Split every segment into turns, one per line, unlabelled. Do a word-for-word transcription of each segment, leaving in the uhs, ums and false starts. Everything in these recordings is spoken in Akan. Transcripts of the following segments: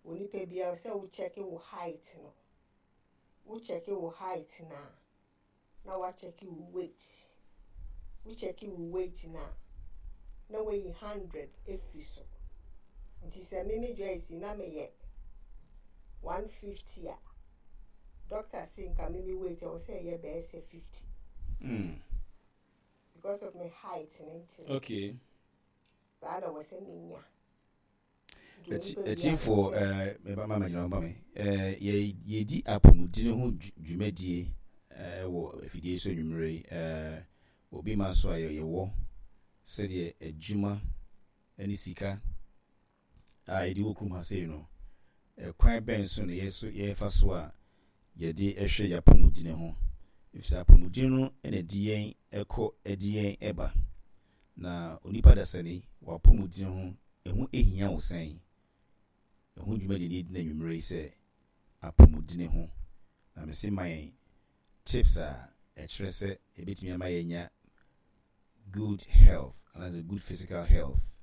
Onipa biara, sɛ wo check wo height no, wo check wo height na na wacheck wo weight. Wo check wo weight na na wayi hundred efiri so. Nti sɛ meme Joyce na meyɛ one fifty a, doctor se nka meme weight ɛwɔ sɛ ɛyɛ bɛyɛ sɛ fifty
Mm.
because of my height ne nti no.
Okay.
Saa na wɔ sɛ menya. Nti onipa biara
Akyinfoɔ,
wɔ sɛ
meba ma magyina ba me ɛɛ, yɛ yɛdi apɔmuden ho dwu- dwumadie ɛɛ, wɔ afidie so anwummerɛ yi. ɛɛ, obi ma so a yɛ- yɛwɔ sɛdeɛ adwuma ne sika a yɛde wɔ kurom ha sei no, ɛkwan bɛn so na yɛ so yɛfa so a yɛde hwɛ yɛn apɔmuden ho, efisɛ apɔmuden no na ɛde yɛn ɛkɔ, ɛde yɛn ɛba. Na onipa dasani, w'apɔmuden ho ɛho ehia wo sɛn? Ɛho dwumadie ne yɛdi no anwummerɛ yi sɛ apɔmuden ho, na mese ma yɛn tips a ɛkyerɛ sɛ ɛbɛtumi ama yɛnya good health anaasɛ good physical health.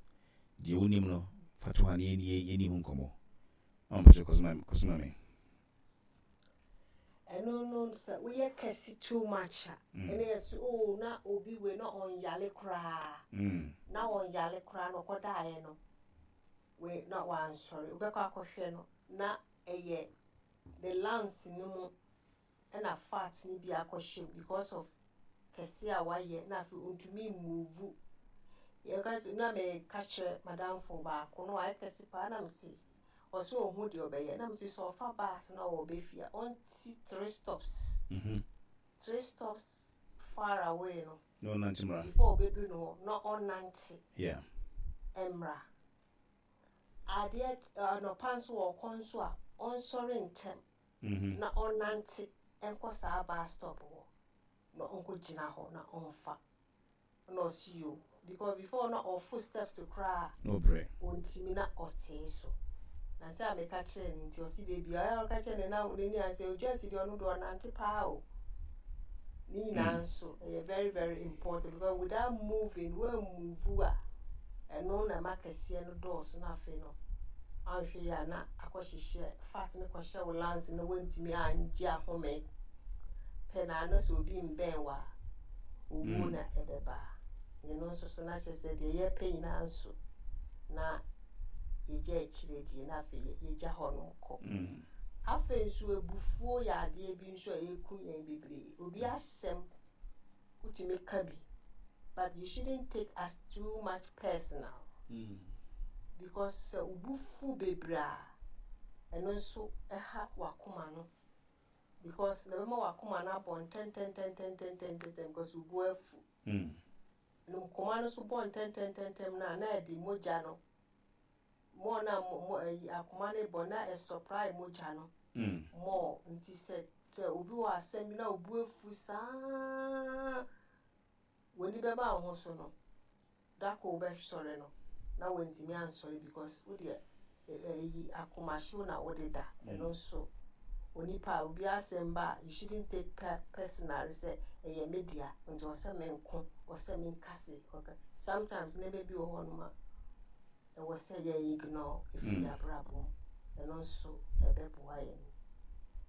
Deɛ wonim no, fa to ha na yɛni yɛni ho nkɔmmɔ. Ɔmpɛkyɛ kɔsoma kɔsoma me.
Ɛno no, sɛ woyɛ kɛse too much a, ɛne yɛ so, oh, na obi wei na ɔnyale koraa
Mm.
na ɔnyale koraa na ɔkɔdaeɛ no wei na wansɔre, wobɛkɔ akɔhwɛ no na ɛyɛ the lungs no mu ɛna fat no bi akɔhyɛ mu because of kɛse a wayɛ, na afei ɔntumi move. Yɛka sɛ na meka kyerɛ madamfo baako na wayɛ kɛse paa, na mese ɔsɛ ɔhu deɛ ɔbɛyɛ, na mese sɛ ɔfa bus na ɔbɛ fie a, ɔnti three stops
Mhm.
three stops far away no
Na ɔnante mmra.
before ɔbɛduru no hɔ na ɔnante
yeah
mmra. Adeɛ anɔpa nso ɔkɔ nso a, ɔnsɔre ntɛm
Mhm.
na ɔnante nkɔ saa bus stop hɔ na ɔnkɔgyina hɔ na ɔmfa na ɔsi yo, because before na ɔfo steps koraa
Na ɔbrɛ.
ɔntumi na ɔtee so. Na sɛ a meka kyerɛ no nti, ɔsi de bia ɔyɛ ɔka kyerɛ ne na n'ani ase odwa si deɛ, ɔno deɛ ɔnante paa o. Ne nyinaa nso ɛyɛ very very important because without moving, wɔn a ɛno na ɛma kɛseɛ no dɔɔso, na afei no ahwɛ yi a, na akɔhyehyɛ fat no kɔhyɛ wo lungs no, wɔntumi angye ahome pɛ na ano sɛ obi mbɛn wɔ a, owuo
Mm.
na ɛbɛba. Ne no nso so na kyerɛ sɛ deɛ yɛpɛ nyinaa nso na yɛgya akyire die, na afei yɛ- yɛgya hɔ nom kɔ.
Mm.
Afei nso abufuo yɛ adeɛ bi nso a ɛku yɛn bebree. Obi asɛm wotumi ka bi, but you shouldn't take as too much personal
Mm.
because sɛ wo fu bebree a, ɛno nso ɛha w'akoma no, because na ɛbɛma w'akoma no abɔ ntɛntɛntɛntɛntɛntɛntɛm because wo bo afu.
Mm.
No koma no nso bɔ ntɛntɛntɛntɛm no a, na ɛde mogya no more na mo mo ɛyi akoma no bɔ na ɛsupply mogya no
Mm.
more. Nti sɛ sɛ obi wɔ asɛm bi na obu afu saa, w'ani bɛba wo ho so no, dako wobɛsɔre no na wantumi ansɔre because wodeɛ ɛyi akomahyew na wode da. Ɛno nso onipa a obi asɛm ba a, you shouldn't take pe personal sɛ ɛyɛ me dea nti ɔsɛ me nko, ɔsɛ me nkase. Okay, sometimes nneɛma bi wɔ hɔnom a ɛwɔ sɛ yɛ ignore ɛfiri
Mm.
abrabɔ mu. Ɛno nso ɛbɛboa yɛn.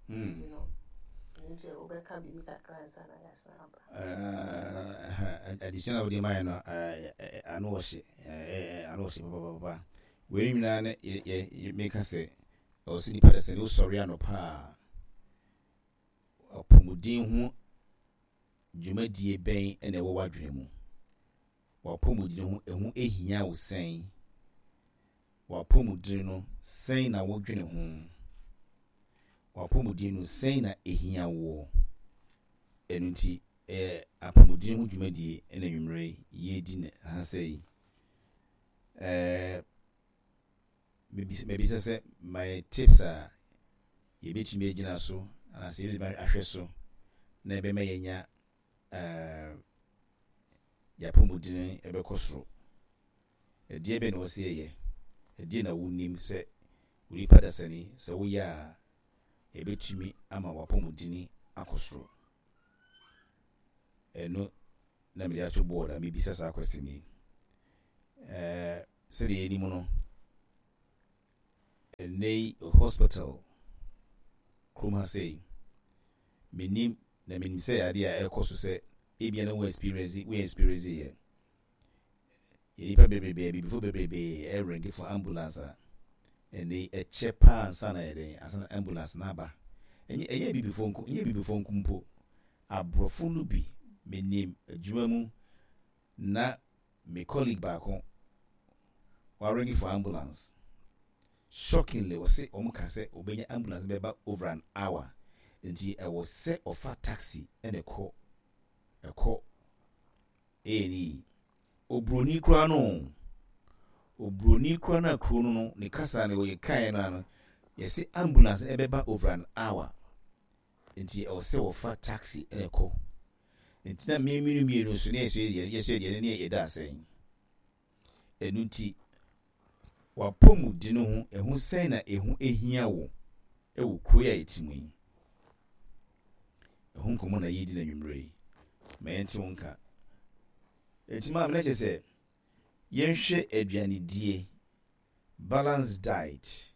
Mm.
Nti no nti wobɛka biribi kakra ansa na yɛasan aba.
Eh, adesua na wode maayɛ no, eh, eh, ano ɔhye, eh, eh, ano ɔhye papapapa. Wei nyinaa ne yɛ- yɛ- yɛ- meka sɛ ɛwɔ sɛ nipa da sɛ ne wosɔre anɔpa a, apɔmuden ho dwumadie bɛn ɛna ɛwɔ w'adwene mu? W'apɔmuden ho ɛho ehia wo sɛn? W'apɔmuden no, sɛn na wodwene ho? W'apɔmuden no, sɛn na ehia woɔ? Ɛno nti ɛyɛ apɔmuden ho dwumadie ɛna nwummerɛ yi yɛredi ne ha sɛ yi. ɛɛ mebisa mebisa sɛ my tips a yɛbɛtumi agyina so anaasɛ yɛbɛtumi ahwɛ so na ɛbɛma yɛnya ɛɛ yɛapɔmuden ɛbɛkɔ soro. Ɛdeɛ bɛn na wɔ sɛ yɛyɛ? Ɛdeɛ na wonim sɛ onipa dasani sɛ woyɛ a, ɛbɛtumi ama w'apɔmuden akɔ soro? Ɛno na mede ato board a mebisa saa question yi. ɛɛ sɛdeɛ yɛnim no, Ɛnnɛ yi hospital kurom ha sei, menim na menim sɛ adeɛ a ɛrekɔ so sɛ ebia na wo experience wo experience yɛ. Yɛ nipa bebrebe, abibifo bebrebe ɛring for ambulance a ɛnnɛ yi ɛkyɛ paa ansa na yɛdɛn ansa na ambulance na aba. Ɛnyɛ ɛnyɛ abibifo nko ɛnyɛ abibifo nko mpo. Aborɔfo no bi menim adwuma mu na me colleague baako waring for ambulance. Shockingly, wɔse wɔn ka sɛ obenya ambulance bɛba over an hour, nti ɛwɔ sɛ ɔfa taxi ɛna ɛkɔ ɛkɔ A and E. Oburoni koraa no, oburoni koraa no a kuro no no ne kasa no wɔyɛ kaeɛ no ano yɛsɛ ambulance ɛbɛba over an hour, nti ɛwɔ sɛ wɔfa taxi ɛna ɛkɔ. Nti na mmienu mmienu nso ne yɛsɛ yɛ yɛsɛ deɛ ne yɛda asɛn ɛnu. Nti wapɔmudi no ho ɛho sɛn na ɛho ehia wo ɛwɔ kuro yi a yɛte mu yi? Ɛho nkɔmɔ na yɛdi na nwummerɛ yi ma yɛnte wo nka. Eti maa mi na kyerɛ sɛ yɛnhwɛ aduanedie, balance diet,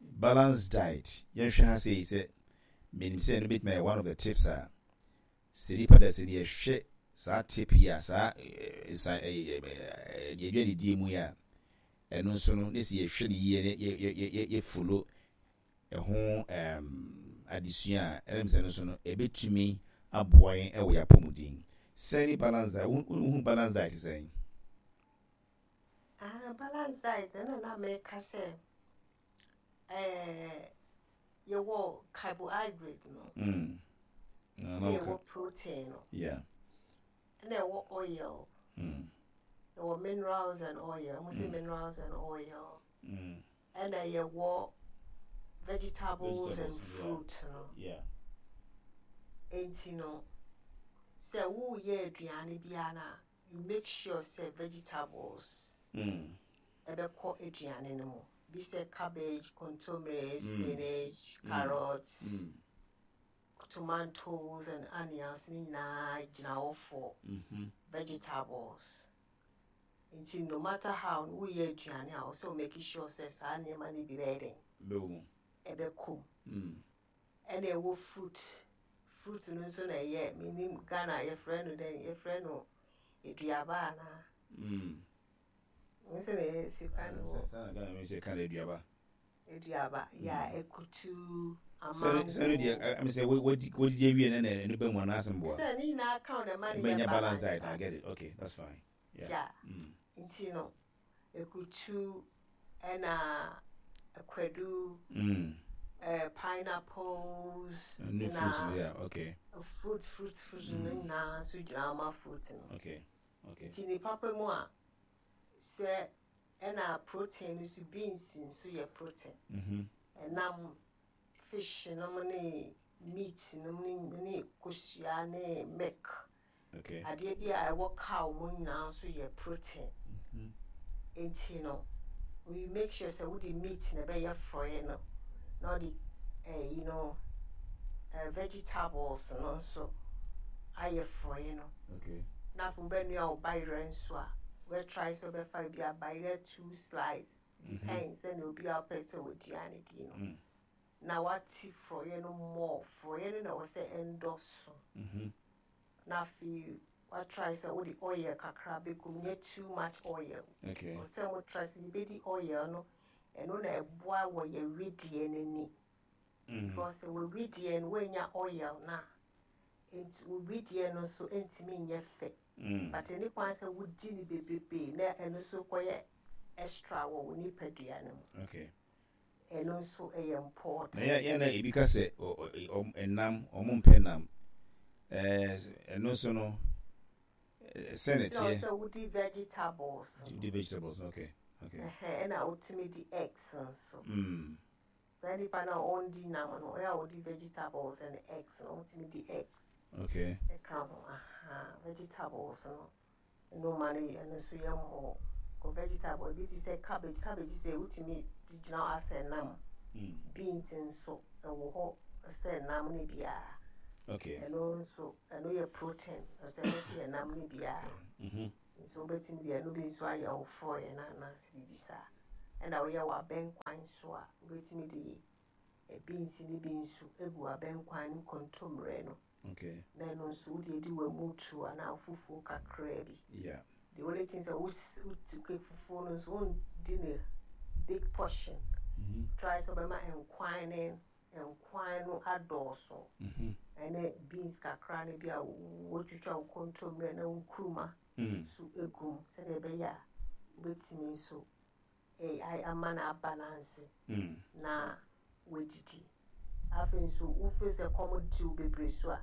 balance diet. Yɛnhwɛ ha sɛ yi sɛ menim sɛ ɛno bɛtumi ayɛ one of the tips a sɛ nipa da sɛ yɛhwɛ saa tip yi a saa nsa aduanedie mu yi a, ɛno nso no ne sɛ yɛhwɛ no yie ne yɛ yɛ yɛ yɛ follow ɛho ɛɛm adesua a, ɛnam sɛ no nso no ɛbɛtumi aboa yɛn ɛwɔ yɛn apɔmuden. Sɛn ne balance diet? Wohu balance diet sɛn?
Ah, balance diet ɛna na meka sɛ ɛɛ yɛwɔ carbohydrate no
Mm.
na yɛwɔ protein no
Yeah.
ɛna ɛwɔ oil,
Mm.
yɛwɔ minerals and oil, mo sɛ minerals and oil,
Mm.
ɛna yɛwɔ vegetables and
Vegetables, yeah.
fruit no.
Yeah.
Nti no sɛ woyɛ aduane biara no a, you make sure sɛ vegetables
Mm.
ɛbɛkɔ aduane no mu bi sɛ cabbage, kontomire,
Mm.
spinach, carrots,
Mm.
tomatoes and onions ne nyinaa gyina hɔ for
Mm-hmm.
vegetables. Nti no matter how no woyɛ aduane a, ɔsɛ wo make sure sɛ saa nneɛma no bi bɛyɛ den
Bɛwɔ mu.
ɛbɛkɔ mu.
Mm.
Ɛna ɛwɔ fruit. Fruit no nso na ɛyɛ menim Ghana yɛfrɛ no dɛn, yɛfrɛ no aduaba anaa?
Mm.
Nso na yɛsi kwan no wɔ
Sɛ na Ghana mi sɛ ka na aduaba.
Aduaba yɛ ekutu.
Sɛ sɛ no deɛ ɛmi sɛ wɔdi wɔdidi awie na na ɛno bɛ mu anaasɛ mboa.
Sɛ ne nyinaa ka wo na ɛma no
Ɛbɛnya
yɛ
balance diet. I get it. Okay, that's fine. Yeah.
Yeah.
Mm.
Nti no ekutu ɛna akwadu,
Mm.
uh, pineapples.
New fruits. Yeah. Okay.
fruit fruit fruit no nyinaa nso gyina ma fruit no.
Okay. Okay.
Nti ne papa mu a sɛ ɛna protein no nso, beans nso yɛ protein.
Mm-hmm.
Ɛnam, fish nom ne meat nom ne ne kosua ne milk.
Okay.
Adeɛ bi a ɛwɔ cow mu nyinaa nso yɛ protein.
Mm-hmm.
Nti no we make sure sɛ wode meat na ɛbɛyɛ frɔeɛ no na ɔde ɛyi no ɛɛ vegetables no nso ayɛ frɔeɛ no.
Okay.
Na afei wobɛnoa wo bayerɛ nso a, wobɛtry sɛ wobɛfa bi a bayerɛ two slice, depends sɛnea obi a wopɛ sɛ wɔaduane di no.
Mm.
Na wate frɔeɛ no more. Frɔeɛ no na ɛwɔ sɛ ɛndɔso.
Mm-hmm.
Na afei watry sɛ wode oil kakra bɛgu mu, nyɛ too much oil.
Okay.
Sɛ mo try sɛ yɛbɛdi oil no, ɛno na ɛboa wɔ yɛ wedeɛ n'ani.
Mm.
Because sɛ wɔ wedeɛ no woanya oil na nti wo wedeɛ no nso ntumi nyɛ fɛ.
Mm.
But ɛne kwan sɛ wodi no bebrebe na ɛno nso kɔyɛ extra wɔ wo nipadua no mu.
Okay.
Ɛno nso ɛyɛ important.
Na yɛ yɛ na ebi ka sɛ ɔ ɔ ɔm ɛnam, ɔmo mpɛ nam, ɛɛ ɛno nso no sɛ ne
na
teɛ.
Sɛ wodi vegetables no.
Wodi vegetables no, okay okay.
Ɛhɛn, ɛna wotumi di eggs nso.
Mm.
Saa nipa no a ɔndi nam no, ɔyɛ a wodi vegetables and eggs no, wotumi di eggs
Okay.
ɛka ho. Aha, vegetables no ɛno ma no yɛ, ɛno nso yɛ mmɔ kɔ vegetable ebi te sɛ cabbage. Cabbage sɛ wotumi de gyina hɔ asɛ nam.
Mm.
Beans nso ɛwɔ hɔ sɛ nam no biara.
Okay.
Ɛno nso ɛno yɛ protein, ɛsɛ ɛno nso yɛ nam no biara.
Mm-hmm.
Nso wobɛtumi de ɛno bi nso ayɛ wo frɔeɛ no anaasɛ biribi saa. Ɛna woyɛ w'abɛnkwan so a, wobɛtumi de beans ne bi nso egu abɛnkwan ne kontomire no.
Okay.
Na ɛno nso wode adi w'amutu anaa fufuo kakraa bi.
Yeah.
The only thing sɛ wotu fufuo no nso, wondi ne big portion.
Mm-hmm.
Try sɛ wobɛma nkwan ne nkwan no adɔɔso.
Mm-hmm.
Ɛne beans kakra ne bi a wotwitwa wo kontomire na wo nkuruma
Mm.
so egum, sɛdeɛ ɛbɛyɛ a wobɛtumi nso eh, ama no abalance
Mm.
na woadidi. Afei nso, wofeel sɛ kɔm di wo bebree so a,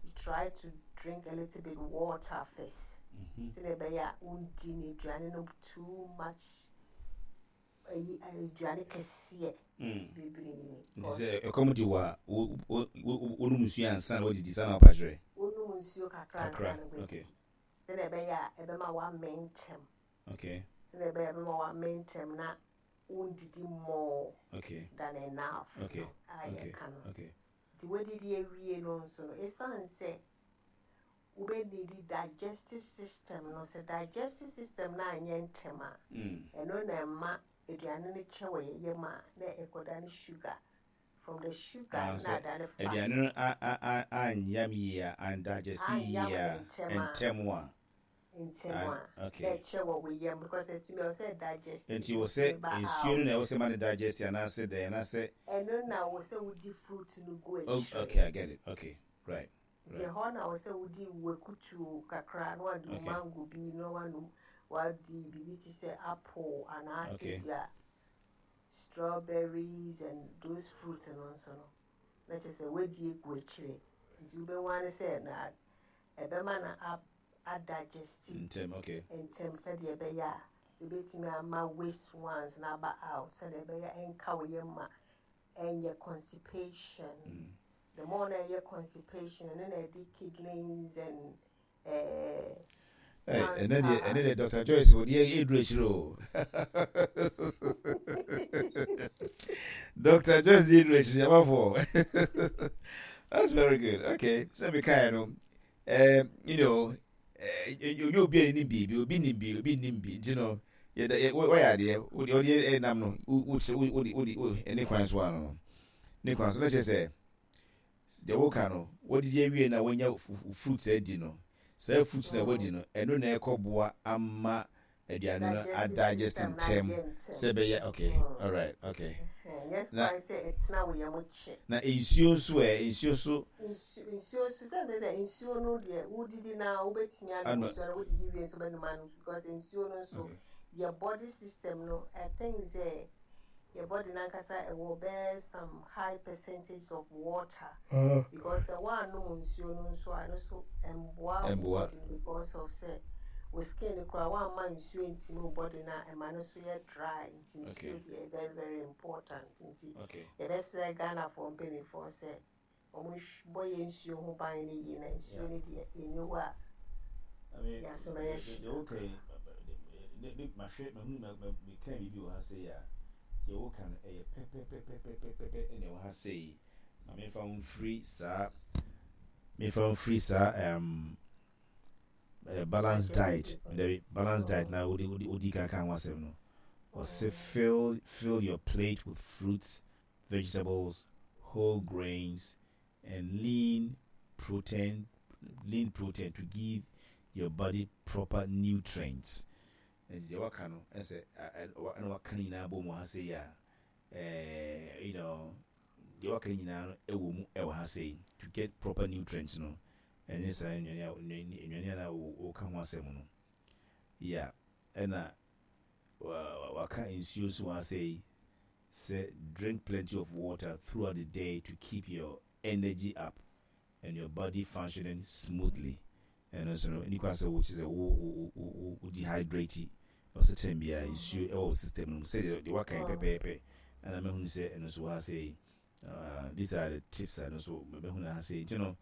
you try to drink a little bit water first,
Mm-hmm.
sɛdeɛ ɛbɛyɛ a wondi ne aduane no too much, ayi aduane kɛseɛ
Mm.
bebree.
Nti sɛ ɛkɔm di wɔ a, wo- wo- wo- wonom nsuo ansa na woadidi saa na wapa kyerɛ?
Wonom nsuo kakra
Kakra,
ansa na woadidi,
okay.
sɛdeɛ ɛbɛyɛ a ɛbɛma woamɛ ntɛm,
Okay.
sɛdeɛ ɛbɛyɛ a ɛbɛma woamɛ ntɛm na wondidi more
Okay.
than enough
Okay.
no a
Okay.
yɛka no.
Okay.
Nti woadidi awie no nso no, ɛsiane sɛ wobɛnidi digestive system no, sɛ digestive system no anyɛ ntɛm a,
Mm.
ɛno na ɛma aduane no kyɛ wɔ yɛ yam a, na ɛkɔda ne sugar, from the sugar
Ah,
na
sɛ
adane fat.
Aduane no a- a- a- anyam yie a, andigest yie
Anyam
a,
ntɛm a.
ntɛm a.
Ntɛm
Ah,
a,
okay.
na ɛkyɛ wɔ wo yam because ɛtumi ɛwɔ sɛ digest.
Nti wɔ sɛ nsuo no na ɛwɔ sɛ ma no digest anaasɛ dɛn anaasɛ?
Ɛno na wɔ sɛ wodi fruit no gu
Oh,
akyire.
okay, I get it. Okay, right.
Nti ɛhɔ na wɔ sɛ wodi wakutuo kakra na wade
Okay.
mango bi na wanom, wadi biribi te sɛ apple anaasɛ
Okay.
bi a strawberries and those fruits no nso no, na kyerɛ sɛ wadi egu akyire, nti wobɛhu ane sɛ na ɛbɛma no a adigest
Ntɛm, okay.
ntɛm, sɛdeɛ ɛbɛyɛ a ɛbɛtumi ama waste ones na aba out, sɛdeɛ ɛbɛyɛ ɛnka wo yam ma ɛnyɛ constipation.
Mm.
The more na ɛyɛ constipation, ɛno na ɛde kidneys and eh,
Hey, ɛnɛ deɛ
cancer.
Ɛnɛ deɛ, Doctor Joyce wɔde ɛduru akyire o. Doctor Joyce deɛ, ɛduru akyire abafoɔ. That's very good. Okay, sɛ mekaeɛ no, um, you know onye obi a nim biribi, obi nim bi, obi nim bi, nti no yɛda yɛ wɔyɛ adeɛ wode wode ɛnam no, wo wo wode wode wo ɛne kwan so ano no ne kwan so na kyerɛ sɛ deɛ woka no, wɔdidi awie na wɔnya fruits adi no, saa fruits na wɔdi no, ɛno na ɛkɔboa ama aduane no adigest ntɛm sɛ ɛbɛyɛ. Okay, alright, okay.
Nyɛ
Na-
kwan sɛ ɛtena wo yam kye.
Na nsuo nso ɛ, nsuo so?
Nsu- nsuo so, sɛ bɛ sɛ nsuo no deɛ, wodidi na wobɛtumi anom
Ano.
nsuo no, wodidi wie nso bɛnom anom, because nsuo no nso,
Okay.
yɛ body system no, I think sɛ yɛ body nankasa ɛwɔ bɛyɛ some high percentage of water, because sɛ woanom nsuo no nso a, ɛno nso ɛmboa wo
Ɛmboa.
body no, because of sɛ wo skin no koraa, woamma nsuo ntimi wo body no a, ɛma no so yɛ dry. Nti nsuo
Okay.
deɛ, very very important, nti
okay
yɛbɛsrɛ Ghanafoɔ mpanimfoɔ sɛ ɔmo bɔ yɛ nsuo ho ban no yie, na nsuo no deɛ, ɛni hɔ a
I mean,
yɛaso bɛyɛ hye.
Deɛ woka yi, mahwɛ, mahu, meka biribi wɔ ha sei a, deɛ woka no ɛyɛ pɛpɛpɛpɛpɛpɛ ɛna ɛwɔ ha sei. Na memfa wo mfiri saa memfa wo mfiri saa um, uh, balanced diet, dabi, balanced diet na wode wode wodi kan ka ho asɛm no. Ɔsɛ fill fill your plate with fruits, vegetables, whole grains and lean protein lean protein to give your body proper nutrients. Nti deɛ waka no, ɛsɛ ɛna waka no nyinaa bɔ mu ha sei a, ɛɛ you know deɛ waka nyinaa no ɛwɔ mu, ɛwɔ ha sei, to get proper nutrients no, ɛne saa nnuane a nnuane a na wɔka ho asɛm no. Yeah, ɛna waka nsuo so wɔ ha sei sɛ drink plenty of water throughout the day to keep your energy up and your body functioning smoothly. Ɛno nso no, nipa sɛ wo kyerɛ sɛ wo wo wo wo dehydrate, ɔsɛ tɛm biara nsuo ɛwɔ wo system no mu, sɛdeɛ deɛ waka yi pɛpɛɛpɛ. Ɛna mɛhunu sɛ ɛno nso wɔ ha sei. uh, these are the tips a ɛno nso mɛhunu ha sei. Nti no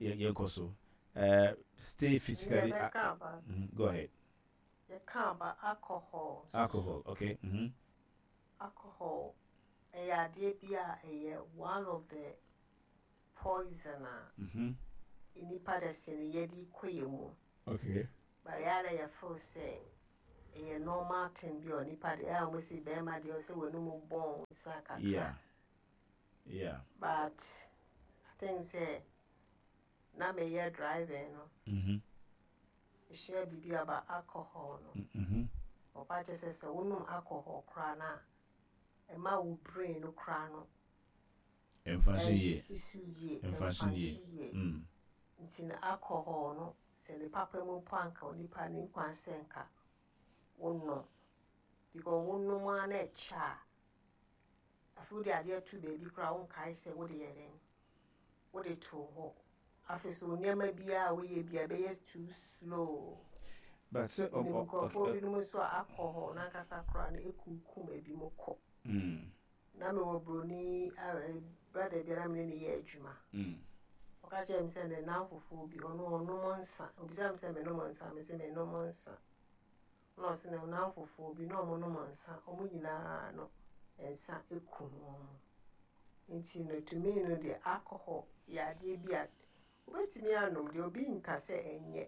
yɛnkɔ so, uh, stay physically uh,
Yɛbɛka about
mm -hmm, go ahead.
Yɛka about alcohol.
Alcohol, okay mm -hmm.
Alcohol ɛyɛ adeɛ bi a ɛyɛ one of the poison a
Mm -hmm.
nipa da sɛ no yɛde kɔ yɛ mu.
Okay
but yɛa na yɛfeel sɛ Ɛyɛ normal thing bi a onipa deɛ, ɛyɛ a wɔsi bɛrima deɛ, ɔsɛ w'anum bɔn nsa kakra.
Yeah yeah
but I think sɛ na meyɛ driving no,
mm-hmm.
mehyia biribi about alcohol no.
Mm-hmm.
Ɔpa kyerɛ sɛ sɛ wonom alcohol koraa no a, ɛma wo brain no koraa no
ɛmfa so yie.
Ɛnsisi so yie.
Ɛmfa so yie.
Ɛmfa yie.
mm.
Nti no alcohol no, sɛ ne papa mu mpo, anka onipa ne nkwan sɛ nka wonom, because wonom a na ɛkyɛ a, afei wode adeɛ to baabi koraa, wonkae sɛ wode yɛ dɛn, wode too hɔ. Afei so nneɛma biara a woyɛ bia bɛyɛ too slow.
But sɛ
nim nkurɔfoɔ binom nso a alcohol n'ankasa koraa no ekunkum ebi mu kɔ.
mm.
Na mewɔ broni brother bi a na mene ne yɛ adwuma.
Mm.
Ɔka kyerɛ me sɛ ne nan fufuo bi, ɔno ɔnom nsa. Obisa me sɛ menom nsa, mese menom nsa, na ɔsɛ ne nan fufuo bi na ɔmo nom nsa, ɔmo nyinaa no nsa ekum wɔn. Nti no, to me no deɛ, alcohol yɛ adeɛ bi a wobɛtumi anom deɛ, obi nka sɛ ɛnyɛ,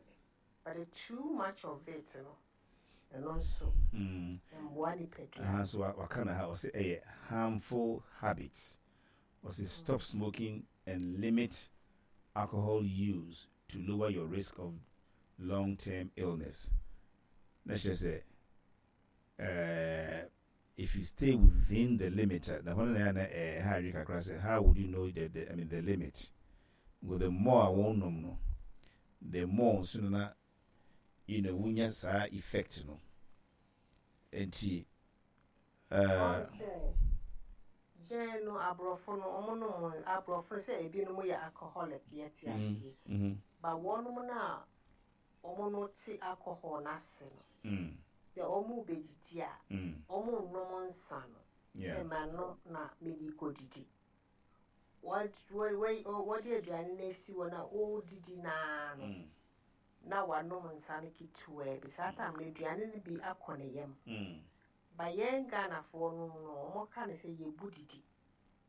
but the too much of it no, ɛno nso
Mm.
mboa nipadua.
Aha so waka na ha, ɔsɛ ɛyɛ harmful habits. Ɔsɛ stop smoking and limit alcohol use to lower your risk of long-term illness. Na kyerɛ sɛ uh, if you stay within the limit, na hɔ no na na ɛɛ ha adwe kakra sɛ how would you know the, the I mean, the limit? Well, the more a wɔn nom no, the more nso no na you know wonya saa effect no. Nti uh,
sɛ yɛn no, aborɔfo no, ɔmo nom, aborɔfo no sɛ ebinom yɛ alcoholic, yɛte aseɛ,
mm-hmm.
but wɔnom no a ɔmo no te alcohol n'ase no,
mm,
sɛ ɔmo bɛdidi a,
mm,
ɔmo nnom nsa no
yeah.
sɛ manom na mede kɔdidi. Wɔde aduane no asi hɔ na ɔredidi naa no,
Mm,
na wanom nsa no ketewaa bi. Saa time no aduane no bi akɔ ne yam.
mm,
Ba yɛn Ghanafoɔ no no, ɔmo ka no sɛ yɛbu didi.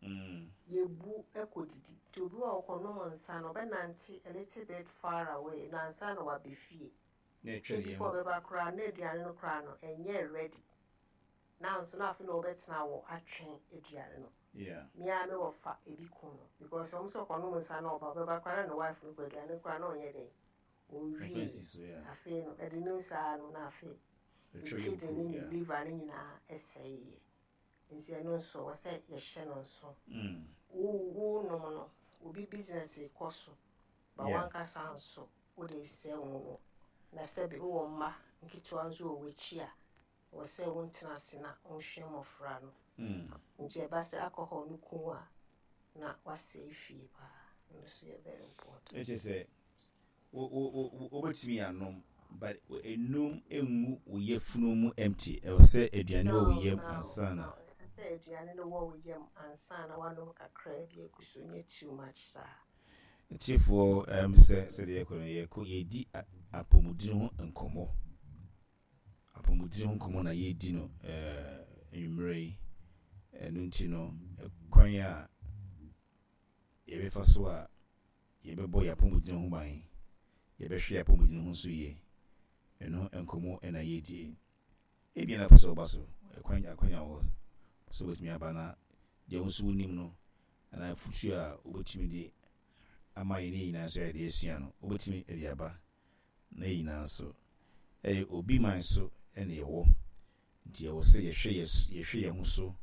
mm,
Yɛbu kɔ didi, nti obi wɔ ɔkɔnom nsa no, ɔbɛnante a little bit far away na ansa na waba fie.
Na ɛtwa ne
Before
yam.
ɔbɛba koraa na aduane no koraa no ɛnyɛ ready, na nso na afei na ɔbɛtena wɔ atwɛn aduane no.
Yeah.
Mmea me wɔfa ebi kun no because ɔmo sɛ ɔkɔnom nsa na ɔba, ɔbɛba koraa na ne wife no kɔ aduane no koraa na ɔnyɛ dɛn,
Ɛmfa
ɔnwie.
nsi so, yeah.
Afei no ɛde ne saa no na afei ne
ɛtwa yam
kidney
kuro
ne ne
yeah.
liver ne nyinaa ɛsɛeɛ. Nti ɛno nso wɔ sɛ yɛhyɛ no nso.
Mm.
Wo wo nom no, obi business kɔ so ba,
Yeah.
wankasa nso wode sɛ wo no, na sɛbi wowɔ mma nketewa nso wɔ w'akyi a, wɔ sɛ wontena ase na wonhwɛ mmɔfra no.
Mm.
Nti ɛba sɛ alcohol no ku a, na wasɛe fie paa. Ɛno nso yɛ very important.
Ɛkyɛ sɛ wo wo wo wobɛtumi anom, but enum engu wo yafunu mu empty. Ɛwɔ sɛ aduane wɔ wo yam ansa na
Sɛ aduane no wɔ wo yam ansa na wanom kakra bi agu so, nyɛ too much saa.
Tiefoɔ, ɛm sɛ sɛdeɛ yɛkɔ no, yɛkɔ yɛdi a- apɔmuden ho nkɔmmɔ. Apɔmuden ho nkɔmmɔ na yɛdi no ɛɛ anwummerɛ yi. Ɛno nti no, kwan a yɛbɛfa so a yɛbɛbɔ yɛn apɔmuden ho ban, yɛbɛhwɛ yɛn apɔmuden ho so yie, ɛno nkɔmmɔ ɛna yɛdi. Ebia na pɛ sɛ ɔba so, ɛkwan akwanya wɔ hɔ sɛ wobɛtumi aba na deɛ wo nso wonim no anaa afutuo a wobɛtumi de ama yɛn ne yɛn nyinaa nso yɛde asua no, wobɛtumi de aba na yɛn nyinaa nso ɛyɛ obi man so ɛna yɛwɔ. Nti ɛwɔ sɛ yɛhwɛ yɛ yɛhwɛ yɛn ho so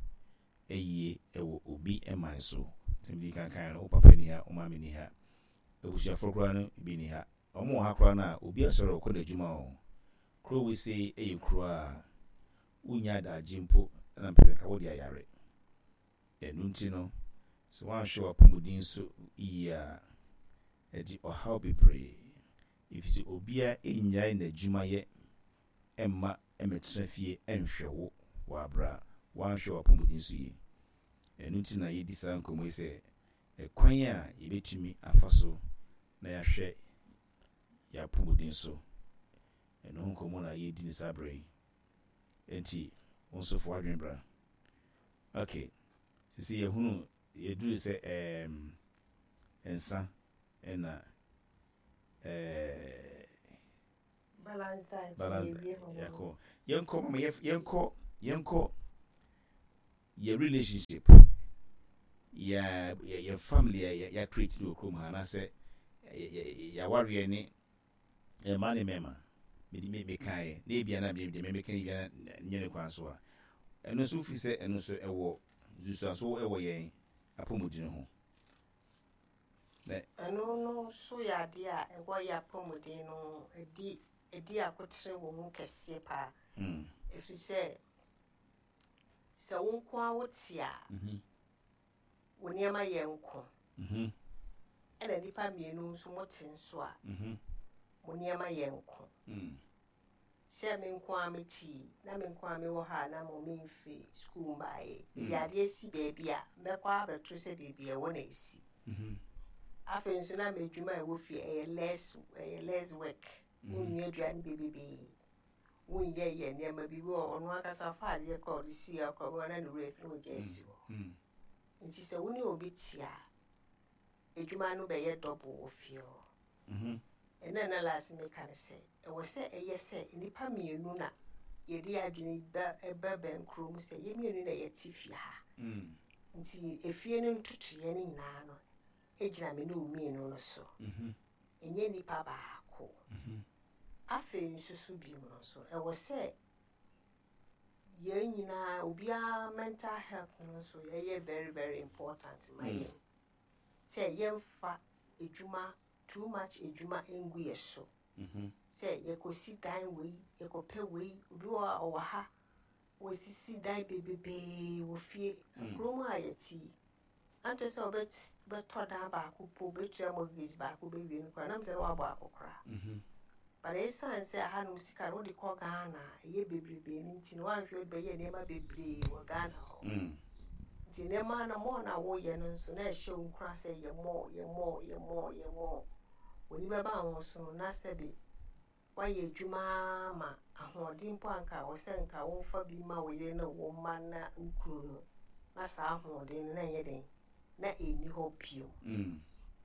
ɛyie ɛwɔ obi man so. Tɛm kankan no, wo papa ni ha, wo maame ni ha, abusuafoɔ koraa no bi ni ha, ɔmo wɔ ha koraa no a, obi asɔre ɔkɔ n'adwuma o. Kuro wei ɛyɛ kuro a wonya adagye mpo ɛna mpɛ sɛ nka wode ayare. Ɛno nti no, sɛ woanhwɛ w'apɔmuden so yie a, ɛde ɔhaw bebree, ɛfiri sɛ obiara ɛnnyae n'adwumayɛ ɛmma ɛmmɛtena fie ɛnhwɛ wo wɔ aberɛ a woanhwɛ w'apɔmuden so yie. Ɛno nti na yɛdi saa nkɔmmɔ yi sɛ ɛkwan a yɛbɛtumi afa so na yɛahwɛ yɛn apɔmuden so, ɛno ho nkɔmmɔ na yɛdi ne saa berɛ yi. Enti wo nso fo adwene bra. Okay, sisi yɛhunu yɛduru sɛ ɛɛm nsa ɛna ɛɛ
Balance diet.
Balance.
Yɛwie hɔ.
Yɛkɔ, yɛnkɔ mama, yɛf- yɛnkɔ yɛnkɔ yɛ relationship, yɛ yɛ yɛ family a yɛ yɛ create ne wɔ kurom ha, anaasɛ yɛ yɛ yɛawareɛ ne mmaa ne mmarima. Mede me mekaeɛ na ebia na deɛ mɛmeka no ebia na nyɛ ne kwan so a, ɛno nso firi sɛ ɛno nso ɛwɔ nsusuanso ɛwɔ yɛn apɔmuden ho na
Ɛno no so yɛ adeɛ a ɛwɔ yɛ apɔmuden no, ɛdi ɛdi akotere wɔ mu kɛseɛ paa,
mm.
ɛfiri sɛ sɛ wo nko a wote a,
mhm,
wo nneɛma yɛ nko,
mhm,
ɛna nnipa mmienu nso mote nso a,
mhm,
mo nneɛma yɛ nko.
Mm.
Sɛ me nko a mete yi, na me nko a mewɔ ha a, na mo memfiri sukuu mbaeɛ, mede
Mm.
adeɛ si baabi a mɛkɔ abɛto sɛ baabi a ɛwɔ na ɛsi.
Mhm,
Afei nso na m'adwuma a ɛwɔ fie ɛyɛ less ɛyɛ less work.
Mhm.
Wonnua aduane bebrebee, wonyɛ yɛ nneɛma bi wɔ ɔno ankasa fa adeɛ kora ɔde si akora mu ana ne werɛ fi na ɔgya asi hɔ.
Mm.
Nti sɛ wo ne obi te a, adwuma no bɛyɛ double wɔ fie hɔ.
Mhm,
Ɛna na last meka ne sɛ ɛwɔ sɛ ɛyɛ sɛ nnipa mmienu na yɛde adwene ba ɛba bɛn kurom sɛ yɛn mmienu na yɛte fie ha,
mm.
nti efie no ntotoeɛ no nyinaa no egyina me ne wo mmienu no so,
Mhm,
ɛnyɛ nipa baako.
Mhm.
Afei nso so bio no nso, ɛwɔ sɛ yɛn nyinaa, obiara mental health no nso yɛyɛ very very important ma
Mm.
yɛn, sɛ yɛmfa edwuma too much edwuma ngu yɛ so,
Mhm,
sɛ yɛkɔsi dan wei, yɛkɔpɛ wei. Obi wɔ hɔ a ɔwɔ ha, wɔsisi dan bebrebee wɔ fie.
Mm.
Kurom a yɛte yi, antɔ sɛ wobɛtɔ dan baako po, wobɛtua mortgage baako bɛwie no koraa nam sɛ na woabɔ akɔkora,
mhm.
but ɛsiane sɛ ahanom sika no wode kɔ Ghana a ɛyɛ bebrebee no nti no, woanhwɛ wode bɛyɛ nneɛma bebree wɔ Ghana hɔ.
Mm.
Nti nneɛma no mɔɔ na woyɛ no nso na ɛhyɛ wo nkura sɛ yɛ mɔɔ, yɛ mɔɔ, yɛ mɔɔ, yɛ mɔɔ. W'ani bɛba wo ho so no, na sɛbe woayɛ adwuma ma ahoɔden mpo anka wɔ sɛ nka womfa bi ma wo yere ne wo mma na wo kunu no, na saa ahoɔden no na ɛnyɛ den na ɛnni hɔ bio.
Mm.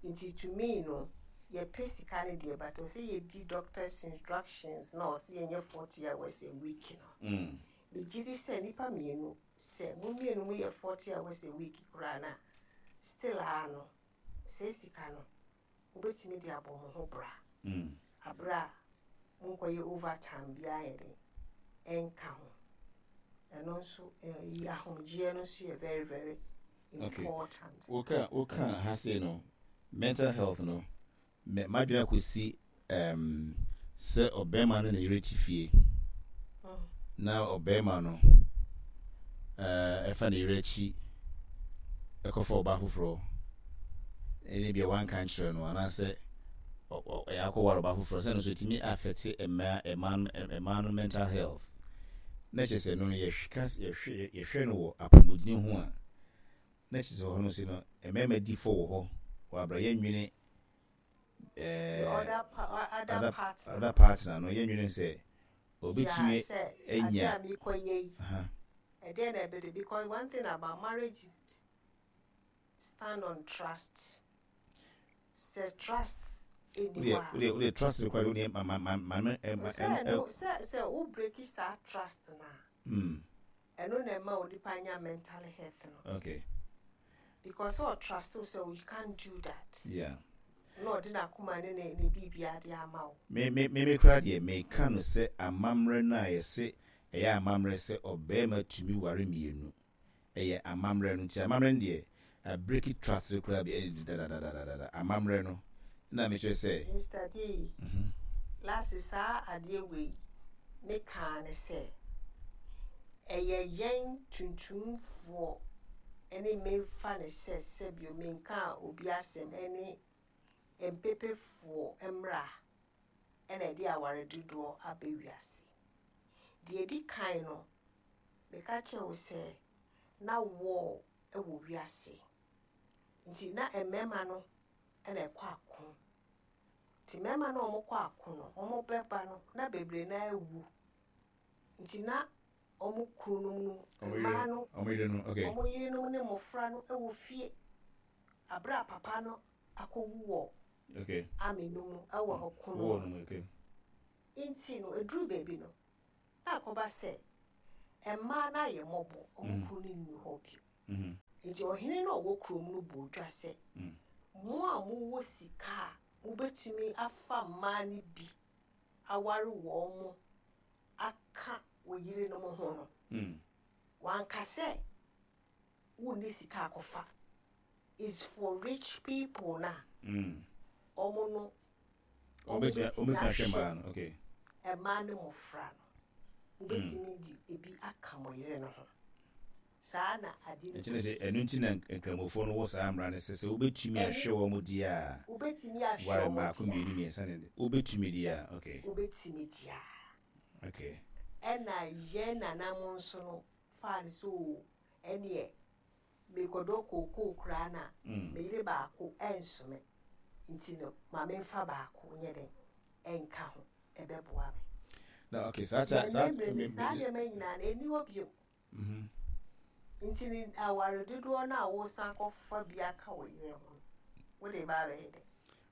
Nti to me no, yɛpɛ sika no deɛ, but ɔsɛ yɛdi doctor's instructions na ɔsɛ yɛnyɛ forty hours a week no.
Mm.
Megye di sɛ nnipa mmienu, sɛ mo mmienu mo yɛ forty hours a week koraa na still a no, sɛ sika no wobɛtumi de abɔ mo ho bra
Mm.
aberɛ a monkɔyɛ overtime biara yɛ den ɛnka ho. Ɛno nso ɛyi ahomegyeɛ no nso yɛ very very
Okay.
important.
woka woka ha sei no, mental health no, mɛ madwene akɔsi um, sɛ ɔbɛrima no ne yere te fie
Mm.
na ɔbɛrima no uh, ɛfa ne yere akyi ɛkɔfa ɔbaa foforɔ, ɛne bia wanka nkyerɛ no anaasɛ ɔ- ɔ- ɛyɛ akɔware ɔbaa foforɔ, sɛ no so ɛtumi affect mmaa mmaa no mmaa no mental health, na kyerɛ sɛ no no yɛhwɛ yɛhwɛ yɛhwɛ no wɔ apɔmuden ho a, na kyerɛ sɛ hɔ no so no mmarima di fɔ wɔ hɔ wɔ abra yɛnwene
The
ɛɛ
other, pa- other,
other
partner.
Other partner no, yɛnwene sɛ obetumi
Yeah, sɛ
anya
adeɛ a mekɔyɛ yi,
aha
ɛdeɛ na ɛbɛde, because one thing about marriage is stand on trust. Sɛ trust ɛni
wodeɛ
hɔ a,
wodeɛ wodeɛ trust required, wodeɛ ma ma ma ma ma ɛ ma
sɛ
ɛ
no sɛ sɛ wo break saa trust na
mm
ɛno na ɛma onipa nya mental health no,
okay
because sɛ ɔtrust wo sɛ you can't do that,
yeah
na ɔde n'akoma ne ne ne biribiara de ama wo.
Me me me me kora deɛ, meka no sɛ amammerɛ no a yɛse ɛyɛ amammerɛ sɛ ɔbarima tumi ware mmienu, ɛyɛ amammerɛ no. Nti amammerɛ no deɛ, abreak trust no koraa bi ɛde dadadadadada amammerɛ no na mekyerɛ sɛ
Mister D,
mhm
last saa adeɛ wei mekaa ne sɛ ɛyɛ yɛn tuntumfoɔ ɛne memfa ne sɛ sɛbio menka obi asɛm, ɛne mpepefoɔ mmra ɛna ɛde aware dodoɔ aba wiase. Deɛ ɛdi kan no, meka kyerɛ wo sɛ na war ɛwɔ wiase, nti na mmarima no ɛna ɛkɔ ako, nti mmarima no a wɔkɔ ako no, wɔn bɛba no na bebree na awu, nti na wɔn kununom no,
ɔmo
mmaa
yere
no,
ɔmo yere no, okay.
Wɔn yerenom ne mmɔfra no wɔ fie abere a papa no akɔwu wɔ
okay
army no mu ɛwɔ ɔko no
wɔɔ
mu.
No mu, okay.
Nti no, ɛduru baabi no, na akɔba sɛ mmaa no ayɛ mmɔbɔ, ɔmo kunu no nni hɔ bio.
Mhm.
Nti ɔhene no a ɔwɔ kurom no bɔ dwa sɛ,
Mm.
mo a mowɔ sika a mobɛtumi afa mmaa no bi aware wɔn mo aka wɔ yerenom ho no,
Mm.
wanka sɛ wonni sika akɔfa. Is for rich people na
Mm.
ɔmo no
ɔbɛtumi ɔbɛtumi ahwɛ mmaa no, okay.
Mmaa ne mmɔfra no, wobɛtumi de ebi aka mo yere no ho. Saa na ade no
Ɛkyerɛ sɛ
kɔsi.
Ɛno nti na nkramofoɔ no wɔ saa mmara no sɛ sɛ wobɛtumi ahwɛ wɔn mu deɛ a,
Wobɛtumi ahwɛ
ware
wɔn
mmaako,
deɛ
mmienu,
a,
mmiɛnsa ne wobɛtumi deɛ a, okay.
Wobɛtumi deɛ a.
Okay
ɛna yɛn nananom nso no faa no so o, ɛneɛ mekɔdɔ kookoo koraa na
Mm.
meyere baako ɛnsome, nti no ma memfa baako nyɛ den ɛnka ho, ɛbɛboa me.
Na okay, saa ta saa
Na mmerɛ
me-
no, saa
me-
nneɛma nyinaa no ɛni hɔ bio.
Mhm.
Nti ne aware dodoɔ no a wosan kɔfa bi aka wɔ yere ho no, wode ba abɛyɛ dɛ?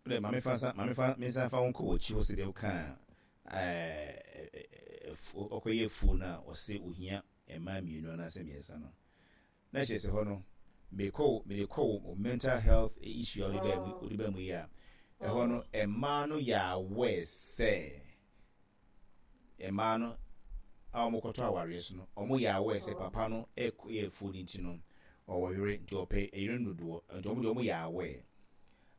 Wode maame fa nsa, maame fa me nsa fa wo nkɔ w'akyi hɔ sɛdeɛ wokaa ɛɛ, ɛfu- ɔkɔyɛ afuo no a ɔsɛ ohia mmaa mmienu anaasɛ mmiɛnsa no, na kyerɛ sɛ hɔ no mekɔ wo- mede kɔ wo mental health issue a wode baa mu, wode baa mu yi a, ɛhɔ no mmaa no yɛ aware sɛ mmaa no a wɔkɔtɔ awareɛ so no, wɔn yɛ aware sɛ papa no ɛkɔ yɛ afuo no nti no ɔwɔ yere, nti ɔpɛ yere no dodoɔ, nti wɔn deɛ wɔn yɛ aware.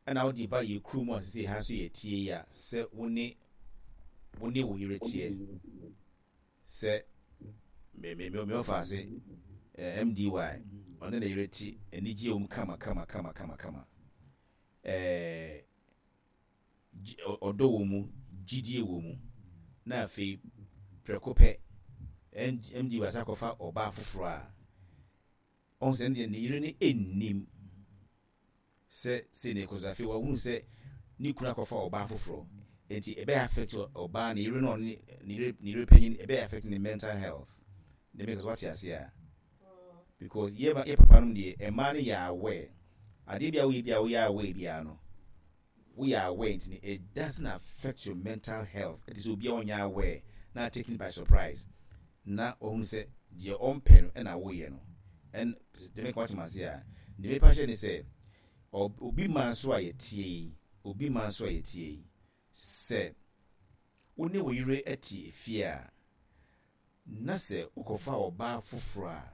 Ɛna wode ba yɛ kurom a sisi ha nso yɛ tie yi a, sɛ wo ne wo ne wo yere teɛ sɛ me me me me ɔfa ase ɛɛ M D Y, ɔne ne yere te anigye wɔ mu kama kama kama kama kama, ɛɛ gyi- ɔ- ɔdɔ wɔ mu, gyidie wɔ mu, na afei prɛko pɛ M D Y sɛ akɔfa ɔbaa foforɔ a, ɔhu sɛ ne deɛ ne yere no ɛnnim sɛ sei na ɛkɔ so. Afei wahunu sɛ ne kunu akɔfa ɔbaa foforɔ, nti ɛbɛyɛ affect ɔbaa ne yere no, ɔne ne yere ne yere panyin, ɛbɛyɛ affect ne mental health ne meka so, wate ase a? Because yɛ yɛ papa nom deɛ, mmaa no yɛ aware adeɛ bi a woyɛ bi a woyɛ aware biara no, woyɛ aware nti no it doesn't affect your mental health. Ɛte sɛ obi a ɔnyɛ aware na taken by surprise na ɔhunu sɛ deɛ ɔmpɛ no ɛna woyɛ no. Ɛn deɛ meka, wate ase a? Deɛ mepa hyɛ ne sɛ ɔ- obi ma nso a yɛtie yi, obi ma nso a yɛtie yi, sɛ wo ne wo yere te efie a, na sɛ wokɔfa ɔbaa foforɔ a,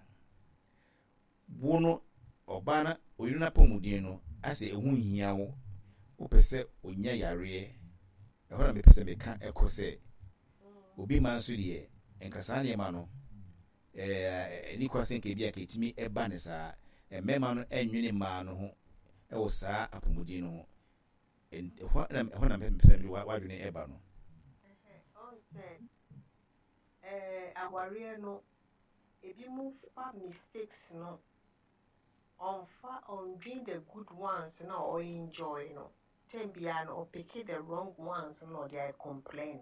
wo no ɔbaa na oyere no apɔmuden no asɛ ɛho nhia wo, wopɛ sɛ onya yareɛ. Ɛhɔ na mepɛ sɛ meka ɛkɔ sɛ obi ma nso deɛ, nka saa nneɛma no ɛɛ ɛni kwa sɛ nka ebi a ka etumi ɛba ne saa mmarima no ɛnwene mmaa no ho ɛwɔ saa apɔmuden no ho. Ɛn- ɛhɔ na ɛhɔ na mepɛ sɛ mede wa- w'adwene ɛba no.
Ɔn sɛ ɛɛ awareɛ no, ebi mu fa mistakes no, ɔnfa ɔndwen the good ones na ɔenjoy no. Time biara no ɔpick the wrong ones na ɔde ayɛ complain.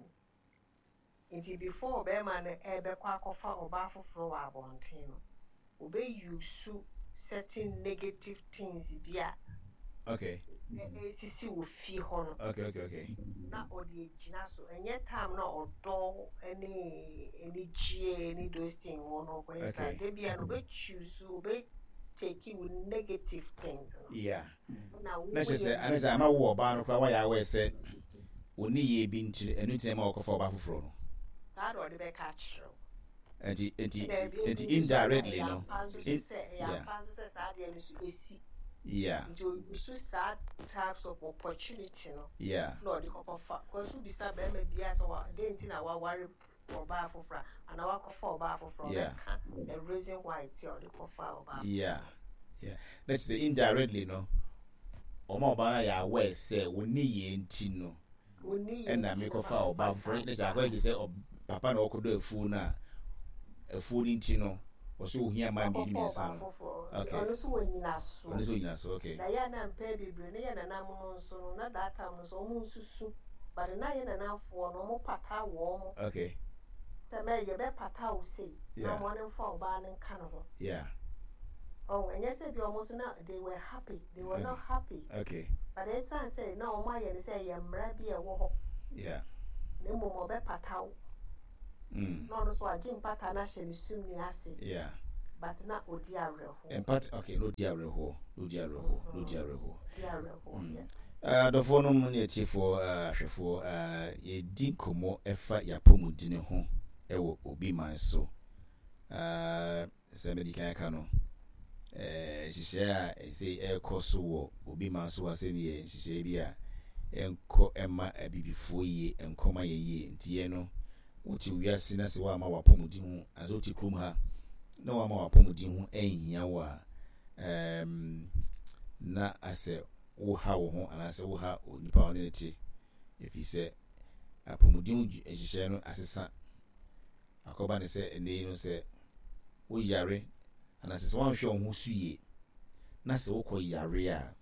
Nti before ɔbɛrima no ɛbɛkɔ akɔfa ɔbaa foforɔ wɔ abɔnten no, ɔbɛuse certain negative things bi a
okay
ɛ- ɛsisi wɔ fie hɔ no
okay okay okay
na ɔde agyina so. Ɛnyɛ time na ɔdɔ ne anigyeɛ ne those things wɔ no ɔkɔyɛ saa.
Okay.
Da bia no ɔbɛchoose, ɔbɛtake wo negative things no
yeah
na
na kyerɛ sɛ ana sɛ ama wo ɔbaa no koraa wayɛ aware sɛ ɔni yie bi nti, ɛno nti na ɛma wɔkɔfa ɔbaa foforɔ no.
Saa na ɔde bɛka akyerɛ wo.
Nti nti
Ɛna ebi
nti
nso so
indirectly
ɛyɛ
no
ampa nso so
in-
sɛ ɛyɛ
yeah
ampa nso sɛ saa adeɛ no so esi.
Yeah
nti oyisu saa types of opportunity no
yeah
na ɔde kɔkɔfa kɔsu bisa bɛrima biara sɛ wa den nti na waware ɔbaa foforɔ a anaa wakɔfa ɔbaa foforɔ,
Yeah.
ɔbɛka the reason why ti a ɔde kɔfa ɔbaa.
yeah yeah na kyerɛ sɛ indirectly no, ɔma ɔbaa no ayɛ aware sɛ wɔni yie nti no
Oni yɛ
ɛna
nti na
mekɔfa
wakɔfa
ɔbaa
saa.
foforɔ. Ne sɛ akɔyɛ te sɛ ɔ- papa na ɔkɔdɔ afuo no a, afuo no nti no ɔsɛ ohia mmaa mmienu
wakɔfa
mmiɛnsa
ɔbaa
no
foforɔ.
Okay.
Ɔno nso wɔ nyinasoɔ.
Ɔno nso onyina so, okay.
Na yɛ na mpɛ bebree ne yɛ nanam no nso no, na that time no nso ɔmo nsusu, but na yɛ nanamfoɔ no ɔmo pata wɔ mo
okay
sɛ mɛ yɛbɛpata wo sei na
Yeah.
ɔmo ne mfa ɔbaa no nka ne ho.
Yeah
ɔn ɛnyɛ sɛ bi ɔmo nso na they were happy, they were not happy,
okay
but ɛsan sɛ na ɔmo ayɛ no sɛ ɛyɛ mmara bi a ɛwɔ hɔ.
Yeah
Na mmom ɔbɛpata wo.
Mm.
Na ɔno nso agye mpata no ahyɛ ne sumni ase.
Yeah.
But na odi awerɛhoɔ.
Mpata, okay, na odi awerɛhoɔ, na odi awerɛhoɔ, na odi awerɛhoɔ.
Odi awerɛhoɔ,
Mm.
yeah.
Adɔfoɔ nom ne atiefoɔ, ahwɛfoɔ, yɛdi nkɔmmɔ ɛfa yɛapɔmudini ho ɛwɔ Obi Man so. Sɛ mede kan aka no, nhyehyɛeɛ a ɛsɛ ɛrekɔ so wɔ Obi Man so asɛm yɛ nhyehyɛeɛ bi a ɛnkɔ ɛma abibifoɔ yie, ɛnkɔ ma yɛn yie. Nti yɛn no, wote wiase na sɛ woama w'apɔmuden ho, anasɛ wote kurom ha na woama w'apɔmuden ho ɛnhia wo a, um, na asɛ woha wo ho anaasɛ woha onipa a ɔne ne te, ɛfiri sɛ apɔmuden nhyehyɛeɛ no asesa. Akɔba ne sɛ ɛnnɛ yi no, sɛ woyare anaasɛ sɛ woanhwɛ wo ho so yie na sɛ wokɔ yare a,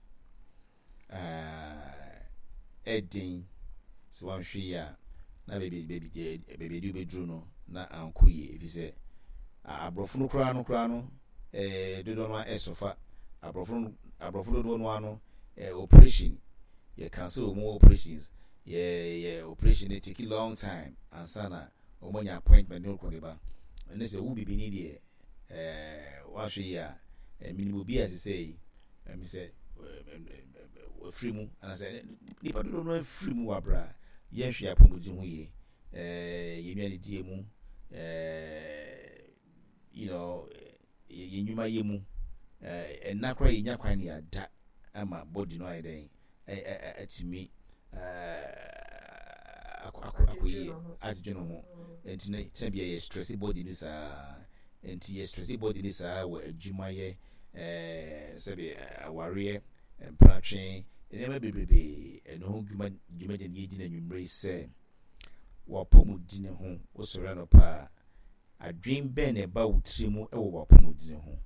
ɛden sɛ woanhwɛ yie a na baabi baabi baabi de wobɛduru no na ankɔ yie, ɛfiri sɛ aborɔfo no koraa no koraa no, ɛɛ dodoɔ no ɛsɔfa aborɔfo no, aborɔfo dodoɔ no ano ɛɛ operation yɛ cancel wɔn operations, yɛ yɛ operation no take long time ansa na wɔn anya appointment ne okɔ ne ba. Ɛne sɛ wo bibini deɛ, ɛɛ wahwɛ yie a, ɛminim obi a sisɛ yi ɛmi sɛ wafiri mu anaasɛ nipa dodoɔ no afiri mu wɔ abira yɛnhwɛ apɔmuden ho yie, ɛɛ yɛn nnuane die mu, ɛɛ you know yɛn nnwuma yɛ mu, ɛɛ ɛna koraa yɛnya kwan ne yɛada ama body no ayɛ dɛn, atumi akɔ akɔ yie, adwedwe ne ho. Nti no tena bi a yɛ stress body no saa, nti yɛ stress body no saa wɔ adwumayɛ, ɛɛ sɛbi awareɛ, mpratwe, nneɛma bebrebe. Ɛno ho dwuma dwumadie no yɛdi n'anwummerɛ yi sɛ w'apɔmuden ho. Wosɔre anɔpa a, adwen bɛn na ɛba wo tiri mu ɛwɔ w'apɔmuden ho?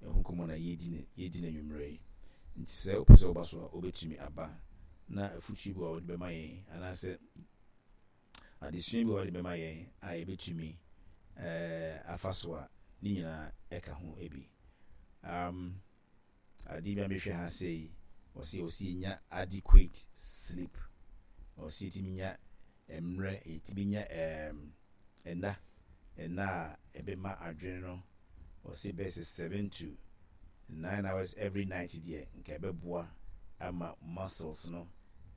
Ɛho nkɔmmɔ na yɛdi ne yɛdi n'anwummerɛ yi. Nti sɛ wopɛ sɛ woba so a, wobɛtumi aba na afutuo bi a wɔde bɛma yɛn anaasɛ adesua bi a wɔde bɛma yɛn a yɛbɛtumi ɛɛ afa so a, ne nyinaa ɛka ho bi. um, adeɛ bi a mehwɛ ha sɛ yi, ɔsi ɔsi nya adequate sleep, ɔsi yɛtumi nya mmerɛ, yɛtumi nya ɛɛm ɛna ɛna a ɛbɛma adwene no. Ɔsi bɛyɛ sɛ seven to nine hours every night deɛ, nka ɛbɛboa ama muscles no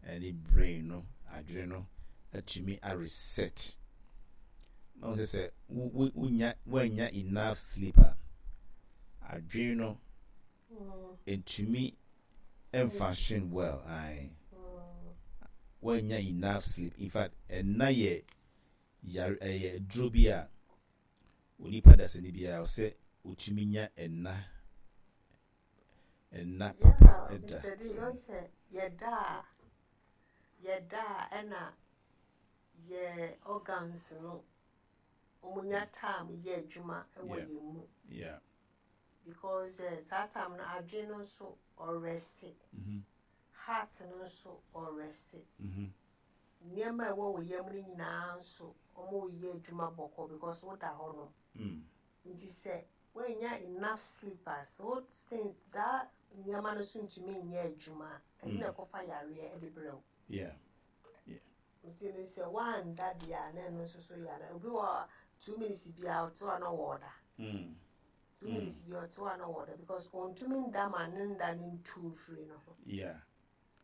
ɛne brain no, adwene no atumi a reset. Na wɔn sɛ sɛ wo wonya woanya enough sleep a, adwene no ntumi function well. Ae, woanya enough sleep. In fact, ɛna yɛ yare, ɛyɛ duro bi a onipa dasani biara sɛ otumi nya ɛna ɛna papa ɛda.
Mister D, ɔn sɛ yɛda a yɛda a ɛna yɛ organs no wɔn nya time yɛ adwuma ɛwɔ
Yeah.
yɛn mu.
Yeah.
Because uh, saa time no, adwene no nso ɔrest,
Mm-hmm.
heart no nso ɔrest,
Mm-hmm.
nneɛma a ɛwɔ wɔ yam no nyinaa nso wɔn reyɛ adwuma bɔkɔ because woda hɔ no.
Mm.
Nti sɛ woanya enough sleep a, so think that nneɛma no nso ntumi nyɛ adwuma a, ɛno na ɛkɔfa yareɛ ɛde brɛ wo.
Yeah.
Nti no sɛ woanda deɛ a, na ɛno nso so yɛ ana obi wɔ two minutes biara ɔte hɔ a na ɔwɔ
Mm.
two minutes biara ɔte hɔ a na ɔwɔ because ɔntumi nda ma ne nda ne ntu mfiri no ho.
Yeah.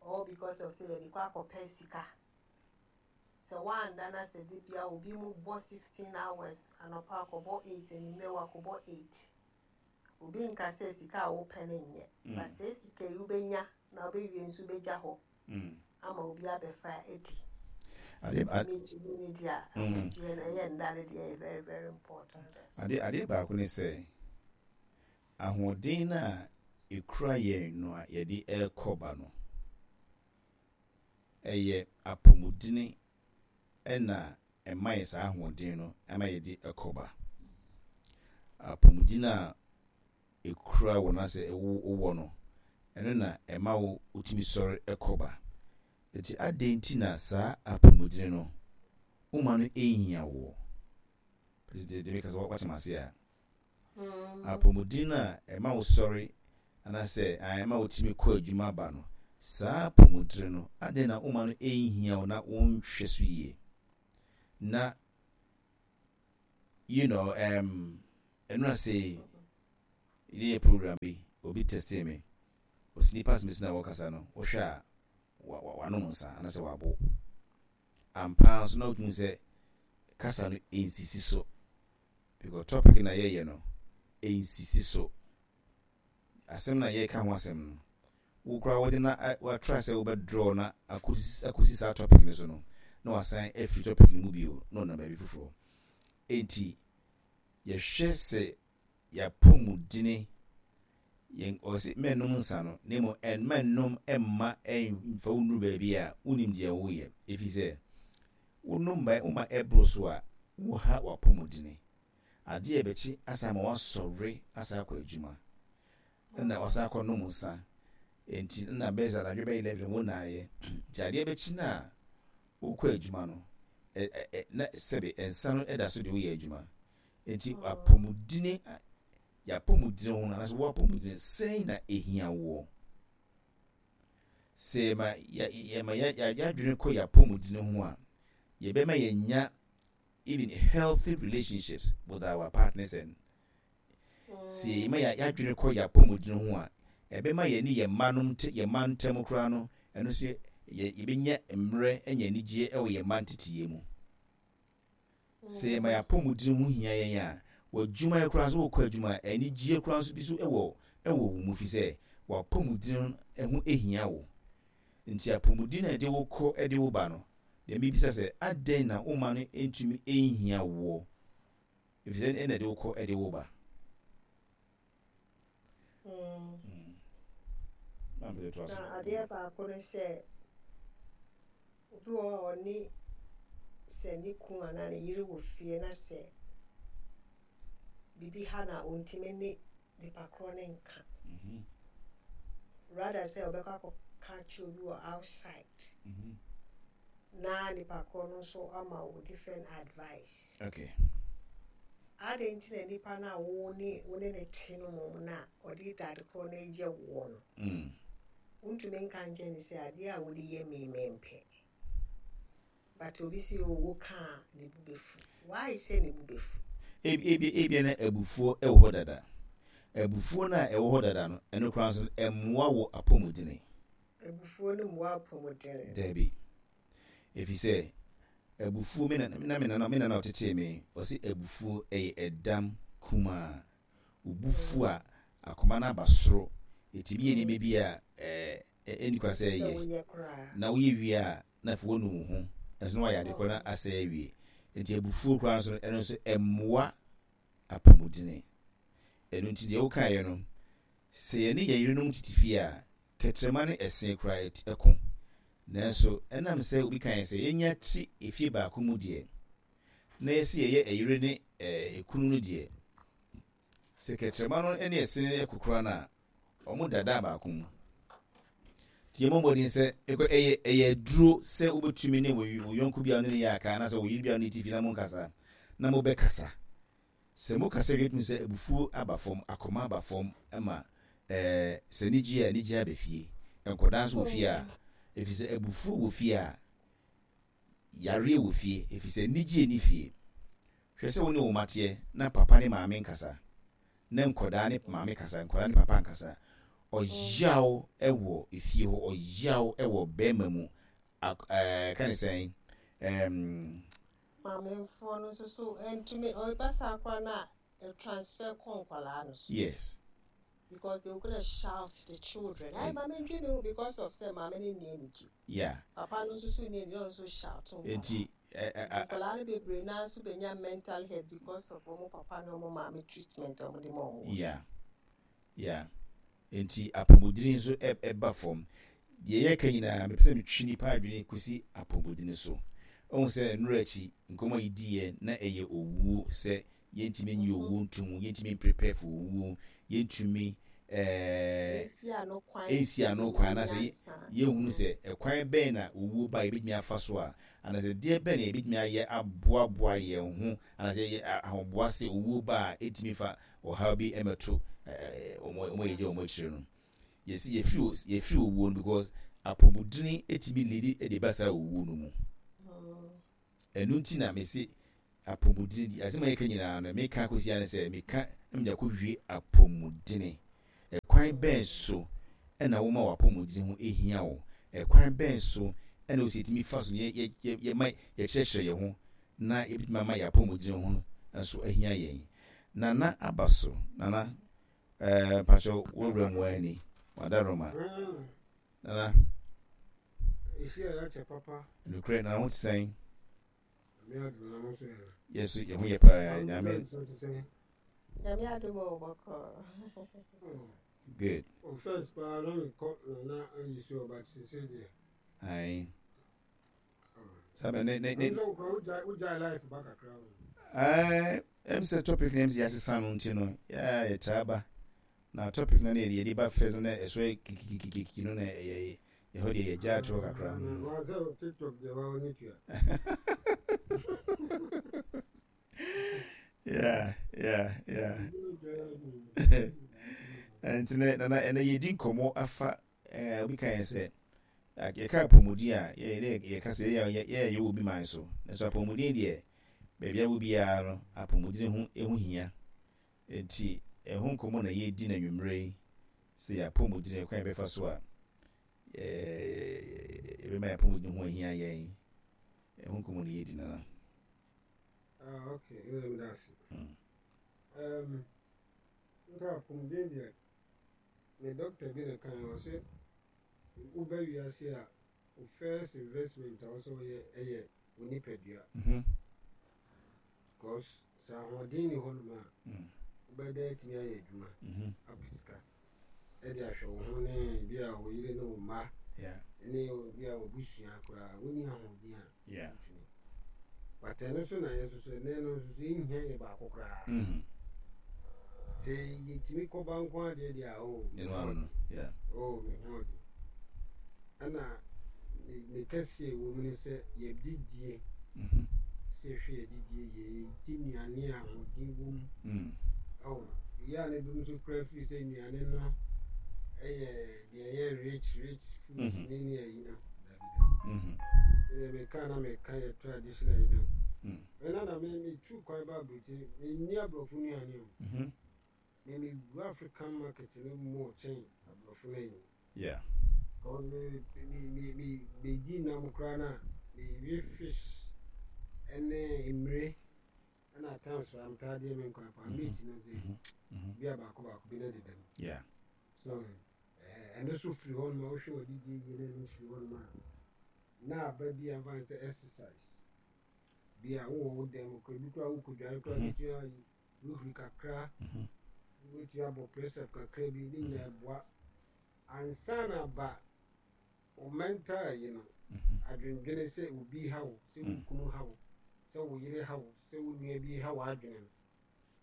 All because of sɛ yɛde kɔ akɔpɛ sika. Sɛ woanda na sɛ de bia obi mu bɔ sixteen hours anɔpa, akɔbɔ eight, anwummerɛ wakɔbɔ eight, obi nka sɛ sika a wopɛ no nyɛ,
Mm.
but sɛ sika yi wobɛnya na wobɛwie nso wobɛgya hɔ
Mm.
ama obi abɛfa adi.
Adeɛ
nti metumi ne deɛ a
Mm.
ahomegyeɛ no, ɛyɛ nda no deɛ, ɛyɛ very very important.
adeɛ adeɛ baako ne sɛ ahoɔden no a ekura yɛn no a yɛde ɛrekɔ ba no, ɛyɛ apɔmudene ɛna ɛma yɛ saa ahoɔden no ɛma yɛde ɛkɔ ba. Apɔmuden a ekura wɔ no asɛ ɛwɔ wɔ no, ɛno na ɛma wo wotumi sɔre ɛkɔ ba. Eti adeɛ nti na saa apɔmuden no woma no ɛnhia wɔ president de mi kasa, wakyɛm ase a, apɔmuden a ɛma wo sɔre anaasɛ ɛma wotumi kɔ adwuma ba no. Saa apɔmudene no, adɛn na woma no ɛnhia wo na wonhwɛ so yie? Na you know um, ɛno ase yɛ program bi, obi text me, ɔsi nipa asɛm na wɔkasa no, wohwɛ a wanom nsa anaasɛ wabo ampa nso, na wotumi sɛ kasa no nsisi so, because topic na yɛyɛ no nsisi so. Asɛm na yɛka ho asɛm no, wo koraa wɔde na watra sɛ wobɛdraw na akɔsi saa topic no so no, na wasan afiri topic no mu bio na ɔnam baabi foforɔ. Enti yɛhwɛ sɛ yɛapɔmudene yɛn, ɔsi mɛnnom nsa no, na mmom mɛnnom mma ɛmfa wo nnuru baabi a wonim deɛ woyɛ, ɛfiri sɛ wonom ba woma ɛboro so a, woha w'apɔmudene. Adeɛ a ɛbɛkyi asa ma wasɔre asa akɔ adwuma, ɛna wasan akɔ nom nsa. Nti na bɛyɛ sɛ anadwo bɛyɛ eleven wo naayɛ, nti adeɛ bɛkyi no a wokɔ adwuma no, na sɛbe nsa no ɛda so de woyɛ adwuma. Nti apɔmudene, yɛapɔmudene ho no anaasɛ woapɔmudene sɛn na ehia woɔ? Sɛ yɛma yɛma yɛadwene kɔ yɛapɔmudene ho a, yɛbɛma yɛnya even healthy relationships with our partners. And sɛ yɛma yɛadwene kɔ yɛapɔmudene ho a, ɛbɛma yɛne yɛn mma nom yɛn mma ntam koraa no, ɛno nso yɛ yɛbɛnya mmerɛ anya anigyeɛ ɛwɔ yɛn mma nteteyɛ mu. Sɛ yɛma yɛapɔmudene ho hia yɛn a, w'adwuma yɛ koraa nso, wokɔ adwuma a, anigyeɛ koraa nso bi so ɛwɔ ɛwɔ wo mu, fi sɛ w'apɔmudene ho ehia wo. Nti apɔmudene a ɛde wo kɔ ɛde wo ba no deɛ, mebisa sɛ adɛn na woma no ntumi nhia woɔ? Ɛfiri sɛ ɛna ɛde wo kɔ, ɛde wo ba.
Mm. Na adeɛ baako ne sɛ obi wɔ hɔ a ɔne sɛ ne kun anaa ne yere wɔ fie, na sɛ biribi ha na ɔntumi ne nipa korɔ ne nka,
Mhm.
rather sɛ ɔbɛkɔ akɔka kyerɛ obi wɔ outside,
Mhm.
na nipa korɔ no nso ama wo different advice.
Okay
adɛn nti na nipa no a wo ne wo ne ne te no mmom na ɔde dade korɔ no yɛ woɔ no,
mm.
wontumi nka nkyɛn ne sɛ adeɛ a wode yɛ me mempɛ? But obi si o, wo ka a, ne bu bɛfu. Why sɛ ne bu bɛfu?
Ebi ebi ebia na abufuo ɛwɔ hɔ dada. Abufuo no a ɛwɔ hɔ dada no, ɛno koraa nso ɛmmoa wɔ apɔmudene.
Abufuo no mmoa apɔmudene.
Daabi, ɛfiri sɛ abufuo, me na na me nana me nana ɔtetee me, ɔsi abufuo ɛyɛ ɛdam kumaa. Obufuo a, akoma no aba soro, ɛtumi yɛ nneɛma bi a ɛɛ ɛnni kwa sɛ
sɛ
ɛyɛ
woyɛ koraa.
Na woyɛ wie a, na afei wɔnu wo ho, ɛnso na wayɛ ade korɔ na asɛe awie. Nti abufuo koraa nso no, ɛno nso ɛmmoa apɔmudene. Ɛno nti deɛ wokaeɛ no, sɛ yɛne yɛn yerenom tete fie a, kɛtrɛma ne ɛse koraa ɛko. Nanso ɛnam sɛ obi kaeɛ sɛ yɛnya te efie baako mu deɛ, na yɛsɛ yɛyɛ ɛyere ne ɛkunu no deɛ, sɛ kɛtrɛma no ne ɛse no ɛko koraa no a, ɔmo dada baako mu. Nti yɛmmɔ mmɔden sɛ ɛkɔ ɛyɛ ɛyɛ aduro sɛ wobɛtumi ne wo wo yɔnko bi a ne ne yɛ aka anaasɛ wo yere bi a ne ti fi na monkasa na mobɛkasa. Sɛ mokasa wie, tumi sɛ abufuo aba fam, akoma aba fam, ma ɛɛ sɛ anigye a anigye aba fie, nkɔdaa nso wɔ fie a, ɛfiri sɛ abufuo wɔ fie a, yareɛ wɔ fie, ɛfiri sɛ anigye ni fie. Hwɛ sɛ wo ne wo mateɛ na papa ne maame nkasa, na nkɔdaa ne maame kasa, nkɔdaa ne papa nkasa, ɔyaw ɛwɔ efie hɔ, ɔyaw ɛwɔ bɛrima mu. Ɛɛ ka ne sɛn ɛɛm.
Maamefoɔ no nso so ntumi ɔba saa koraa na transfer kɔ nkwadaa no so.
Yes
because they were gonna shout the children, ayi maame ntwi mi ho, because of sɛ maame no nni anigye.
Yeah
papa no nso so nni anigye, ɔno nso shout nkwadaa.
Nti ɛ ɛ
Nkwadaa no bebree naa nso benya mental health because of wɔn papa ne wɔn maame treatment a wɔde ma wɔn.
yeah yeah nti apɔmudini nso ɛba fam. Deɛ yɛka nyinaa, mepɛ sɛ metwi nipa adwene kɔsi apɔmudini so. Ɔhu sɛ nnora akyi nkɔmmɔ yi diiɛ na ɛyɛ owuo, sɛ yɛntumi nyi owuo ntom, yɛntumi prepare for owuo, yɛntumi ɛɛ
esi ano kwan.
Ɛnsi ano kwan anaasɛ
nyansa.
Yɛhunu sɛ ɛkwan bɛn na owuo ba yɛbɛtumi afa so a, anaasɛ deɛ bɛn na yɛbɛtumi ayɛ aboaboa yɛn ho, anaasɛ yɛ ahoboa sɛ owuo ba a, ɛtumi fa ɔhaw bi ɛmɛto ɛɛ wɔn wɔn a yɛgye wɔn akyire no. Yɛsi yɛfiri yɛfiri owuo no, because Apɔmudene etumi lead de ba saa owuo no mu. Ɛno nti na mese apɔmudene di asɛm a yɛka nyinaa no, meka akɔsia ne sɛ meka na mede akɔwie apɔmudene. Ɛkwan bɛn so ɛna woma w'apɔmudene ho ehia wo? Ɛkwan bɛn so ɛna wosi etumi fa so yɛ yɛ yɛ yɛma yɛkyerɛkyerɛ yɛn ho na yɛbɛtumi ama yɛ apɔmudene ho nso ahia yɛn? Nana aba so. Nana, ɛɛ mpakyɛw, wɔwura mu ani wadaroma. Nana.
Ehyia yɛ akyɛ papa.
Nokorɛ. Nana, ho te sɛn?
Nyame adom, na mo nso yɛ?
Yɛ so yɛ ho yɛ paa, Nyame.
Nso te sɛn?
Nyame adom o, bɔkɔ.
Good.
O, first paa na mekɔ Nana ayi so, but sese deɛ.
Ayi sábɛ ne ne ne.
Ɛno sɛ wokora wogyae wogyae life ba kakra o.
ɛɛ ɛm sɛ topic na ɛm sɛ yɛasesa no nti no, yɛa yɛtaa ba na topic no ne yɛde yɛde ba first na ɛso yɛ kikikikiki no na ɛyɛ ɛhɔ deɛ yɛgya ato kakra.
Mm. Wa sɛ TikTok deɛ wa wɔnyɛ tua.
yeah yeah yeah nti ne Nana, ɛnɛ yɛdi nkɔmmɔ afa ɛɛ obi ka yɛn sɛ yɛka apɔmuden a, yɛ yɛka sɛ yɛ yɛ yɛwɔ obi man so, nso apɔmuden deɛ, baabi a wɔ biara no, apɔmuden ho ɛho hia. Nti ɛho nkɔmmɔ na yɛdi na nwummerɛ yi sɛ yɛ apɔmuden, kwan yɛbɛfa so a ɛɛ yɛbɛma yɛ apɔmuden ho ahia yɛn, ɛho nkɔmmɔ na yɛdi, Nana.
Ah, okay, ɛna meda ase.
Mm.
Um, nka apɔmuden deɛ, me doctor bi na kan ɔsɛ woba wiase a, wo first investment a wɔsɛ wɔyɛ ɛyɛ wo nipadua.
Mhm.
Because sɛ ahoɔden ni hɔnom a,
Mm.
wobɛda atumi ayɛ adwuma
Mhm.
apɛ sika ɛde ahwɛ wo ho ne bi a wo yere ne wo mma
Yeah.
ne bi a wabusua koraa. Wonni ahoɔden a,
Yeah.
ntumi. But ɛno so na yɛ nso so ɛnɛ no nso so yɛnhia yɛ baako koraa.
Mhm.
Sɛ yɛtumi kɔba nko adeɛ deɛ a, oh,
Ɛno ano no. Yeah.
Oh, me ho ɔde. Ɛna ne ne kɛseɛ wɔ mu ne sɛ yɛdidie,
Mhm.
sɛ yɛhwɛ yɛdidie, yɛdi nnuane a ahoɔden wɔ mu.
Mm.
Ɔwɔ yɛ a ne bi nso kura firi sɛ nnuane no ɛyɛ deɛ ɛyɛ rich rich food
Mhm.
ne ne ayi no, dabi dabi.
Mhm.
Ɛyɛ meka na meka yɛ traditional yi no.
Mm.
Ɛna na me metu kwan ba aburokyi, menni aborɔfo nnuane o.
Mhm.
Me mewura African market no mu kyɛn aborɔfo no ayi.
Yeah.
Because me me me me medi nam koraa na mewe fish ɛne mmire, ɛna at times koraa metaa deɛ me nkwan paa, meat no nti
Mhm. Mhm.
bi a baako baako bi na deda mu.
Yeah.
So ɛɛ ɛno so firi hɔ nom a, wohwɛ wɔdidi yie na ɛno firi hɔ nom a, na aba bi a mfa n sɛ exercise bi a wowɔ wo dan mu koraa bi koraa, wokɔdware koraa,
Mhm.
wobɛtumi ayi hurihuri kakra,
Mhm.
wobɛtumi abɔ press up kakra bi ne nyinaa boa ansa na ba wo mental yi no.
Mhm.
Adwendwene sɛ obi ha wo, sɛ wo
Mm.
kunu ha wo, sɛ wo yere ha wo, sɛ wo nua bi ha w'adwene no,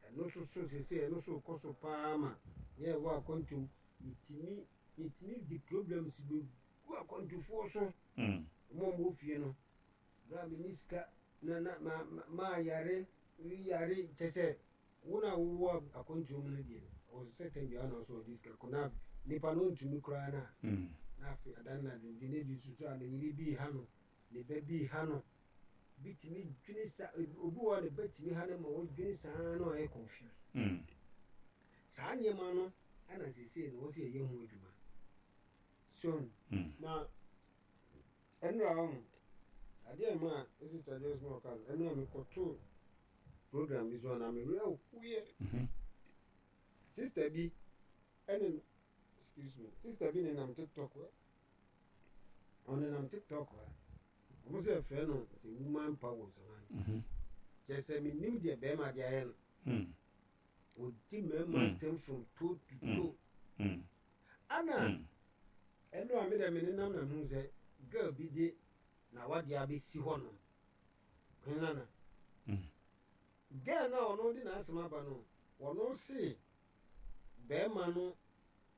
ɛno nso so sese ɛno nso kɔ so paa ma yɛ ɛwɔ akwantum, yɛtumi yɛtumi di problems bɛgu akwantufoɔ so.
Mm.
Ɔmo a ɔmo wɔ fie no bere a menni sika na na ma ma maa yare yare kyɛ sɛ wo na wowɔ akwantuo mu no deɛ, ɔwɔ sɛ tɛm biara na ɔsɛ ɔde sika kɔ na nipa no ntumi koraa na
Mm.
na afei adan na adwendwene bi nso so a ne yere bi ha no, ne ba bi ha no, bi tumi dwene sa, obi wɔ hɔ a ne ba tumi ha no ma wɔdwene saa na ɔyɛ confused.
Mm.
Saa nneɛma no ɛna seesei no wɔsɛ yɛyɛ ho adwuma so.
Mm.
Na ɛnura hɔ adeɛ ma a Sister Joyce ma ɔka no, ɛnura mekɔtoo program bi so a na mewerɛ hoyɛ.
Mhm.
Sister bi ɛne, excuse me, sister bi nenam TikTok hɔ, ɔnenam TikTok hɔ, ɔmo sɛ ɛfrɛ no sɛ woman power sɛ
Mhm.
kyerɛ sɛ menim deɛ bɛrima de ayɛ no.
Mm.
Ɔdi mmarima
Mm.
ntɛm from toe to
Mm.
toe.
Mm.
Ana
Mm.
ɛno a mede me nenam na mehu sɛ girl bi de na wadeɛ abɛsi hɔ nom henana.
Mm.
Girl no a ɔno de n'asɛm aba no, ɔno se bɛrima no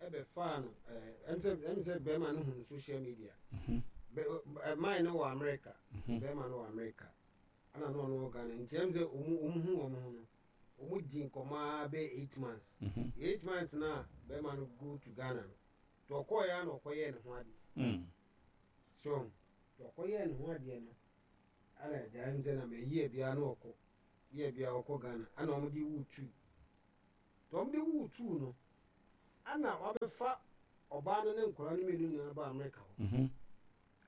ɛbɛfaa no, ɛɛ ɛm sɛ ɛm sɛ bɛrima no hu social media.
Mhm.
Bɛ ɛ man no wɔ America.
Mhm.
Bɛrima no wɔ America ɛna na ɔno wɔ Ghana, nti ɛm sɛ ɔmu ɔmu hu wɔn ho no, ɔmu di nkɔmɔ ara bɛyɛ eight months.
Mhm.
Nti eight months na bɛrima no go to Ghana no, nti ɔkɔɔ ya na ɔkɔyɛɛ ne ho ade.
Mm.
So ɔkɔyɛɛ ne ho adeɛ no, ana gyae m sɛ na mɛyi biara na ɔkɔ yɛ biara ɔkɔ Ghana, ana ɔmde wo two, nti ɔmde wo two no, ana wabɛfa ɔbaa no ne nkɔla no mmienu nyinaa ba Amerika hɔ
Mhm.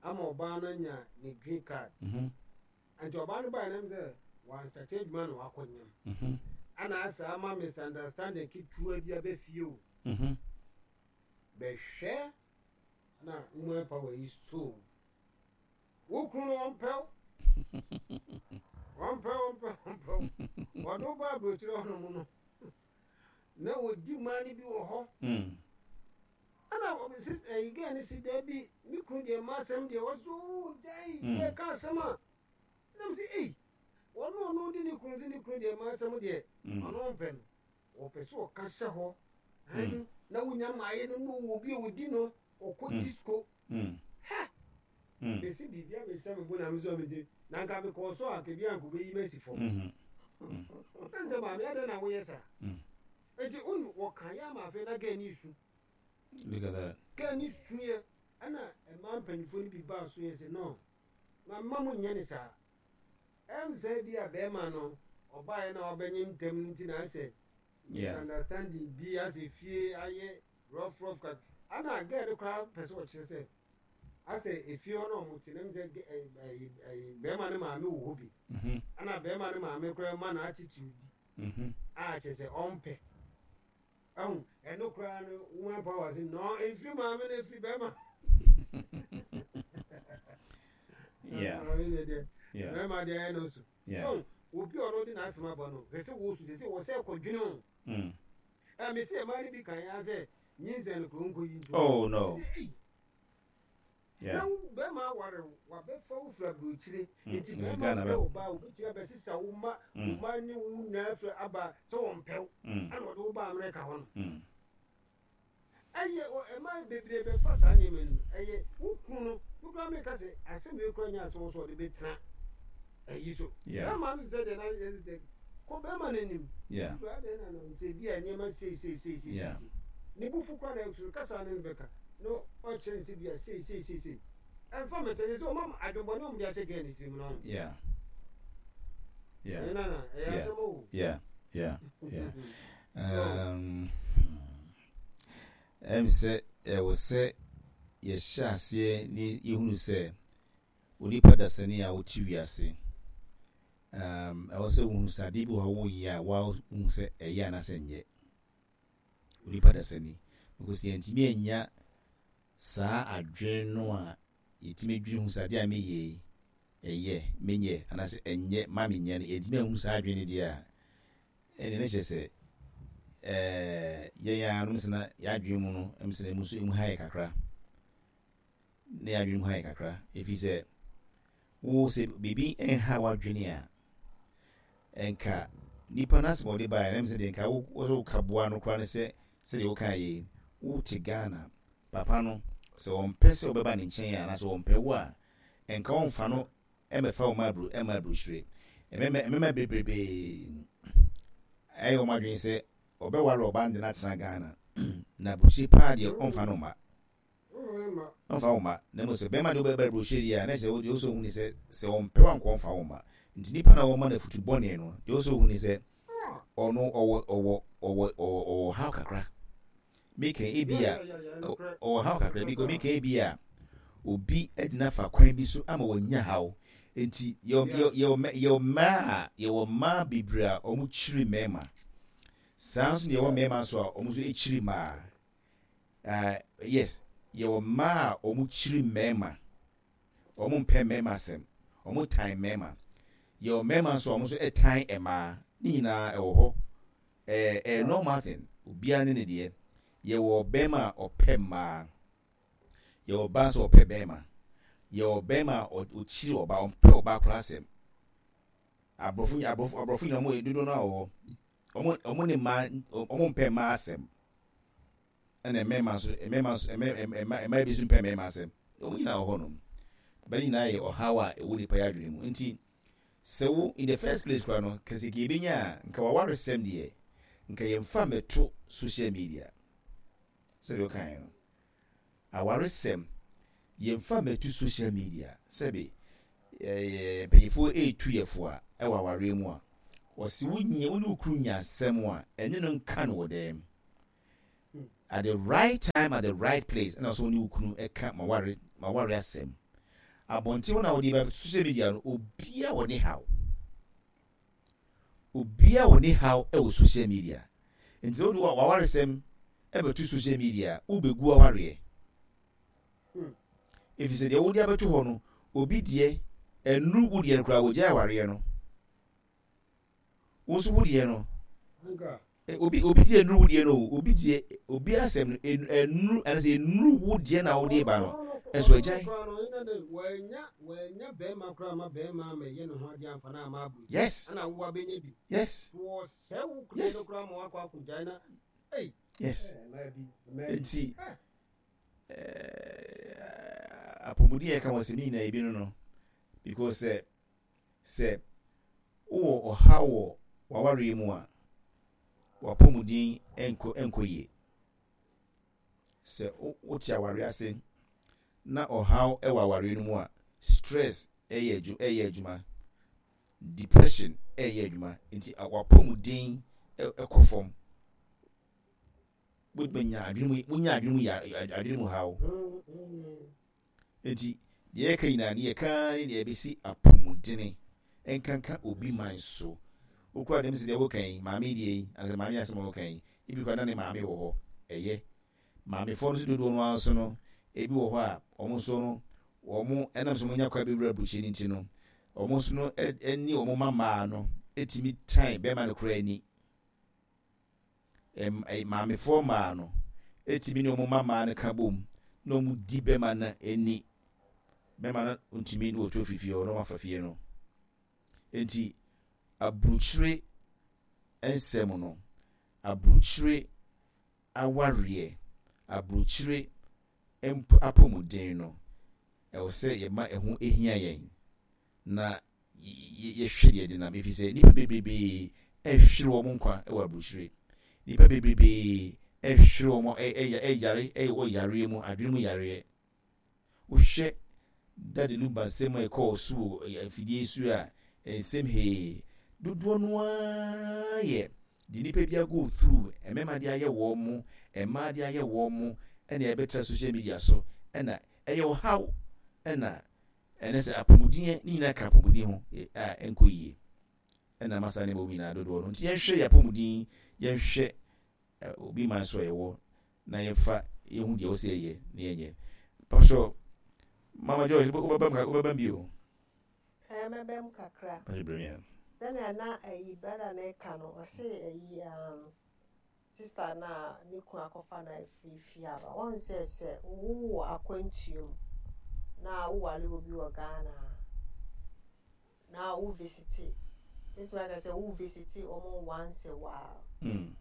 ama ɔbaa no anya ne green card.
Mhm.
Nti ɔbaa no baa nam sɛ wansate adwuma na wakɔ nyam
Mhm.
ana asa ama misunderstanding ketewa bi abɛfie o.
Mhm.
Bɛhwɛ na woman power yi, so wo kunu no ɔmpɛw, ɔmpɛw, ɔmpɛw, ɔmpɛw. Ɔde wo ba aburokyerɛ hɔnom no na wɔdi mmaa no bi wɔ hɔ.
Mm.
Ɛna ɔbɛsi ɛyi gɛɛ no si daabi, me kunu deɛ, mma asɛm deɛ wɔso gyae.
Mm.
Yɛ ka asɛm a nam sɛ ei, ɔno ɔno de ne kunu de ne kunu deɛ, mma asɛm deɛ
Mm.
ɔno mpɛ no, ɔpɛ sɛ ɔka hyɛ hɔ ɛn na wonya mmaayɛ no na ɔwɔ bi a ɔdi no ɔkɔ
Mm.
disco.
Mm.
Ha.
Mm.
Bɛsi biribi abɛhyɛ me bo na me sɛ mede na nka mekɔɔ so a kebi anka wobɛyi masi fam.
Mhm.
Ɛn sɛ maame, adɛn na woyɛ saa?
Mm.
Enti wonu wɔka yɛ ama afei na gɛɛ ne su.
Look at that.
Gɛɛ ne suɛ, ɛna mmaa mpanyinfoɔ no bi baa so yɛ sɛ no ma mma mo nyɛ ne saa. Ɛm sɛ bi a bɛrima no ɔbaeɛ na wabɛnye ntɛm no nti na asɛ
Yeah.
misunderstanding bi asɛ fie ayɛ rough rough kak, ana gɛɛ no koraa pɛ sɛ ɔkyerɛ sɛ asɛ efie hɔ na ɔmo te nam sɛ gɛ- ɛ- ɛ- ɛ- bɛrima no maame wɔ hɔ bi.
Mhm.
Ana bɛrima no maame koraa ma no attitude bi
Mhm.
a kyerɛ sɛ ɔmpɛ ɛho. Ɛno koraa no, woman power sɛ no ɛmfiri maame no, ɛfiri bɛrima.
Yeah.
Maame deɛ deɛ
Yeah.
bɛrima deɛ ɛyɛ no so.
Yeah.
So obi a ɔno de n'asɛm aba no hwɛ sɛ wɔsu sɛ sɛ wɔ sɛ kɔdwene o.
Mm.
Ɛ mesi ɛmaa no bi kan ya sɛ nyinsɛn no kuro nkɔ yi nto.
Oh no.
Ei,
Yeah.
na wo bɛrima aware wo, wabɛfa wo firi aburokyire.
Mm,
Nti
mm,
bɛrima
Ghana
pɛ
bɛ-
wo ba, wobɛtumi abɛsesa wo ma wo
Mm.
ma ne wo nyinaa firi aba sɛ wɔmpɛ wo.
Mm.
Ana ɔde wo ba Amerika hɔ no,
Mm.
ɛyɛ ɔ- ɛma bebree bɛfa saa nneɛma no mu. Ɛyɛ wo kunu no wokura meka sɛ asɛm wei kura nyɛ asɛm wɔ sɛ ɔde bɛtena ayi so.
Yeah.
Bɛrima no sɛ deɛ na yɛ sɛ kɔ bɛrima no anim.
Yeah.
Wura deɛ na no sɛ bi a nneɛma sei sei sei sei
Yeah.
sei ne bufu kora na ɛtoro kasa ne no bɛka na ɔkyerɛ ne sɛ bi a sei sei sei sei ɛmfa mɛtɛ sɛ ɔma adwembɔne ɔmde ahyɛ gɛɛ ne tirim no.
Yeah. Yeah.
Ɛyɛ nana, ɛyɛ
Yeah.
asɛm o.
Yeah. Yeah. Yeah. Um, ɛm sɛ ɛwɔ sɛ yɛhyɛ aseɛ ne yɛhunu sɛ onipa dasani a wote wiase, um, ɛwɔ sɛ wohunu sɛ adeɛ bi wɔ hɔ a woyɛ a woahu sɛ ɛyɛ anaasɛ nyɛ onipa dasani, because yɛntumi anya saa adwene no a yɛtumi dwene hu sɛ adeɛ a meyɛ yi ɛyɛ menyɛ anaasɛ ɛnyɛ ma menyɛ no, yɛntumi ahu saa adwene no deɛ a, ɛne ne kyerɛ sɛ ɛɛ yɛn a nom sɛ na yɛadwene mu no ɛm sɛ na emu nso emu ha yɛ kakra na yɛadwene mu ha yɛ kakra, ɛfiri sɛ wo sɛ biribi nha w'adwene a, ɛnka nipa no asɛm a ɔde baeɛ na ɛm sɛ deɛ nka wo wo sɛ woka boa no koraa ne sɛ sɛdeɛ woka yɛ wote Ghana, papa no sɛ wɔmpɛ sɛ wobɛba ne nkyɛn a anaasɛ wɔmpɛ wo a, ɛnka wɔmfa no ɛmɛfa wo ma aburo ɛma aburokyire. Ɛmɛmɛ ɛmɛmɛ bebrebee ɛyɛ wɔn adwene sɛ ɔbɛware ɔbaa no de no atena Ghana na aburokyire paa deɛ, ɔmfa no mma. Ɔmfa wo mma. Na mmom sɛ bɛrima de wobɛba aburokyire deɛ a, na kyerɛ sɛ deɛ wosɛ ohu ne sɛ sɛ ɔmpɛ wo ankɔ ɔmfa wo mma. Nti nipa na wɔma no afutu bɔne no deɛ, wosɛ ohu ne sɛ ɔno ɔwɔ ɔwɔ ɔwɔ ɔwɔ ɔwɔ haw kakra. Meka ebi a ɔwɔ haw kakra bi meka ebi a obi agyina fa kwan bi so ama wanya haw. Nti yɛwɔ yɛwɔ yɛwɔ mmaa a yɛwɔ mmaa bebree a wɔn kyiri mmarima saa nso na yɛwɔ mmarima nso a wɔn nso kyiri mmaa. uh, yes yɛwɔ mmaa a wɔn kyiri mmarima, wɔn mpɛ mmarima asɛm, wɔn tan mmarima. Yɛwɔ mmarima nso a wɔn nso tan mmaa. Ne nyinaa ɛwɔ hɔ, ɛɛ ɛyɛ normal thing, obiara ne ne deɛ. Yɛwɔ bɛrima a ɔpɛ mmaa, yɛwɔ ɔbaa nso a ɔpɛ bɛrima, yɛwɔ bɛrima a ɔkyiri ɔbaa, ɔmpɛ ɔbaa koraa asɛm. Aborɔfo aborɔfo aborɔfo nyinaa, wɔn yɛ dodoɔ no a wɔ hɔ, wɔn wɔn ne mmaa, wɔn mpɛ mmaa asɛm, ɛna mmarima nso mmarima nso mmarima mmaa bi nso mpɛ mmarima asɛm. Wɔn nyinaa wɔ hɔnom bɛn nyinaa yɛ ɔhaw a ɛwɔ nipa yɛ adwene mu. Nti sɛ wo in the first place koraa no kɛse ka ebenya a, nka waware sɛm deɛ, nka yɛmfa mmɛto social media. Sɛdeɛ ɔkaeɛ no, awaresɛm Yɛmfa mmɛto social media. Sɛbe ɛɛ mpanyinfoɔ etu yɛfo a ɛwɔ awareɛ mu a, wɔsi wonye wo ne wo kunu nya asɛm a, ɛne no nka no wɔ dɛm at the right time, at the right place. Ɛna ɔsɛ wo ne wo kunu ɛka ma ware ma ware asɛm. Abɔnten hɔ na wɔde ba social media no, obia wɔ ne haw, obia wɔ ne haw ɛwɔ social media. Nti sɛ wode wawaresɛm ɛbɛto social media, wobɛgu awareɛ, ɛfiri sɛ deɛ wode abɛto hɔ no, obi deɛ ɛnuru wo deɛ no koraa, wɔgyae awareɛ no. Wo nso wo deɛ no, obi obi deɛ ɛnuru wo deɛ no o, obi deɛ, obi asɛm no ɛnuru anasɛ ɛnuru wo deɛ na wode ba no ɛnso agyae.
Wɔanya wɔanya bɛrima koraa ma bɛrima ma ɛyɛ ne ho adeɛ amfa no ama aburo
yes
ɛna wowa bɛnya bi
yes
wɔsɛ wo kuro
Yes.
no koraa ma wakɔ akɔgyae na ei.
Yes.
Mmaa bi, mmaa bi.
Nti ɛɛ apɔmuden yɛ ka wɔ sɛ ne nyinaa ebi no no because sɛ sɛ wowɔ ɔhaw wɔ w'awareɛ mu a, w'apɔmuden nkɔ nkɔ yie. Sɛ wo wote awareɛ ase na ɔhaw wɔ awareɛ no mu a, stress ɛyɛ adwu ɛyɛ adwuma, depression ɛyɛ adwuma, nti w'apɔmuden ɛkɔ fam. Wobɛnya adwene mu, wonya adwene mu ya, adwene mu haw. Nti deɛ yɛka nyinaa ne yɛka ne deɛ ɛbɛsi apɔmudene nkanka obi man so. Wokura dɛm sɛ deɛ woka yi, maame deɛ yi anasɛ maame asɛm a woka yi, ebi kora na ne maame wɔ hɔ. Ɛyɛ maamefoɔ no nso dodoɔ no ara so no, ebi wɔ hɔ a wɔn nso no, wɔn ɛnam sɛ wɔn nya kwan bɛwura aburokyire no nti no, wɔn nso no ɛne wɔn mma mmaa no etumi tan bɛrima no koraa ani. ɛm ɛ maamefoɔ mmaa no etumi ne wɔn mma mmaa no ka bom na wɔn di bɛrima no ani. Bɛrima no ntumi ne wɔtu afiri fie hɔ na wɔn afa fie no. Nti aburokyire nsɛm no, aburokyire awareɛ, aburokyire mp apɔmuden no, ɛwɔ sɛ yɛma ɛho ehia yɛn na yɛhwɛ deɛ de nam, efi sɛ nipa bebree ɛhwere wɔn nkwa ɛwɔ aburokyire. Nipa bebree ɛhwere wɔn, ɛyɛ ɛyare, ɛwɔ yareɛ mu, adwene mu yareɛ. Wohwɛ Daddy Lumba nsɛm a ɛkɔɔ so wɔ afidie so a, nsɛm hee dodoɔ no ara yɛ de nipa bi go through, mmarima de ayɛ wɔn mo, mmaa de ayɛ wɔn mo, ɛna ɛbɛtra social media so, ɛna ɛyɛ ɔhaw, ɛna ɛnɛ sɛ apɔmuden ne nyinaa ka apɔmuden ho a ɛnkɔ yie, ɛna masa ne bɔ nyinaa dodoɔ no. Nti yɛnhwɛ yɛ apɔmuden, yɛnhwɛ obi man so a yɛwɔ na yɛmfa yɛhu deɛ wɔsɛ yɛyɛ ne yɛnyɛ. Pastor Mama Joyce, wobɛbam wobɛbam bio?
Ɛɛ, mɛbɛm kakra.
Pastor Bremia.
Sɛnea na ɛyi brother na ɛka no, ɔse ɛyi um, sister na ne kunu akɔfa no afiri fie aba wɔn sɛ sɛ wowɔ akwantuo mu na wowale obi wɔ Ghana a, na wo visit, mɛtumi aka sɛ wo visit wɔn once a while
mm.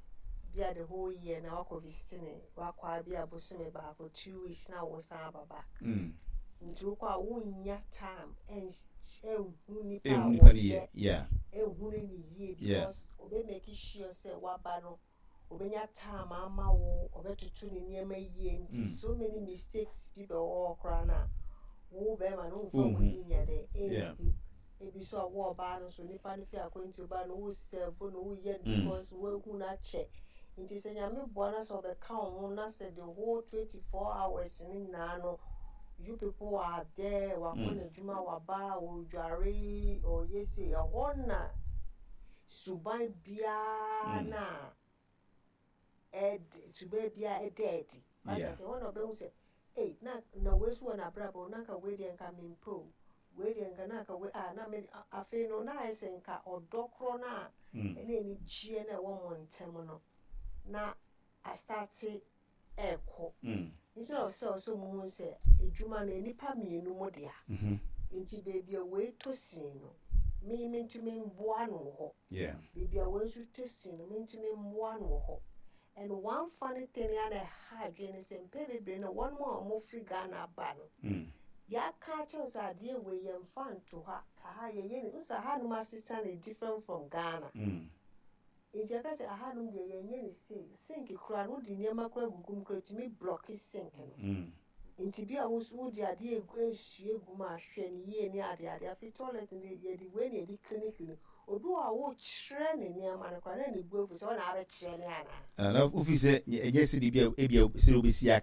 bia the whole year na wakɔ visit ne, wakɔ a bi a bosome baako, two weeks na wo san aba back.
Mm.
Nti wokɔ a, wonya time ɛnhu nipa a
ɛhu nipa no yie.
Wɔyɛ
yeah
ɛnhu no ne yie
Yeah.
because obe make sure sɛ waba no, obenya time ama wo, ɔbɛtoto ne nneɛma yie. Nti
Mm.
so many mistakes bi bɛwɔ hɔ koraa na wo bɛrima no womfa
Wonhu.
w'ani nyɛ dɛ
Yeah.
ɛnhu. Ebi so a, wo ɔbaa no so, nipa no fi akwantuo ba no, wo serve no, woyɛ no
Mm.
because woahu no akyɛ. Nti sɛ Nyame boa na sɛ ɔbɛka wo ho na sɛ the whole twenty four hours no nyinaa no, you people are there, wakɔ
Mm.
n'adwuma, waba, ɔdware, ɔyɛ se ɛhɔ na suban biara
Mm.
na ɛd suban biara ɛda adi. Wate
Yeah.
ase? Ɛhɔ na ɔbɛhu sɛ ei, na na wei so wɔ n'abrabɔ, na nka wei deɛ nka mempɛ o, wei deɛ nka na nka wei a na me a- afei no na ayɛ sɛ nka ɔdɔ korɔ no a
Mm.
ɛne anigyeɛ no a ɛwɔ mo ntam no na astart ɛɛkɔ.
Mm.
Nti na ɔsɛ ɔsɛ mo hu sɛ adwuma no, nnipa mmienu mo dea.
Mhm.
Nti beebi a wei tɔ sin no, me mentumi mboa no wɔ hɔ.
Yeah
beebi a wei nso tɔ sin no, mentumi mboa no wɔ hɔ. And one funny thing ya na ɛha adwene ne sɛ mpɛ bebree no, wɔn a wɔfiri Ghana aba no,
Mm.
yɛaka akyerɛw sɛ adeɛ wei yɛmfa nto ha, aha yɛyɛ ne nso, ahanom asesa no different from Ghana.
Mm.
Nti ɛka sɛ ahanom deɛ yɛnyɛ ne sei, sink koraa no, wode nneɛma koraa gugu mu koraa, tumi block sink no.
Mm.
Nti bi a wo nso wode adeɛ egu ehwie gu mu a, hwɛ ne yie ne ade ade. Afei toilet no, yɛde wei na yɛde clean clean. Obi wɔ a wokyerɛ ne nneɛma no koraa na ne bu afu sɛ ɔna abɛkyerɛ ne anaa.
Ah, na wofi sɛ ɛnyɛ sɛdeɛ bi a ebia sɛdeɛ wobɛsi aka.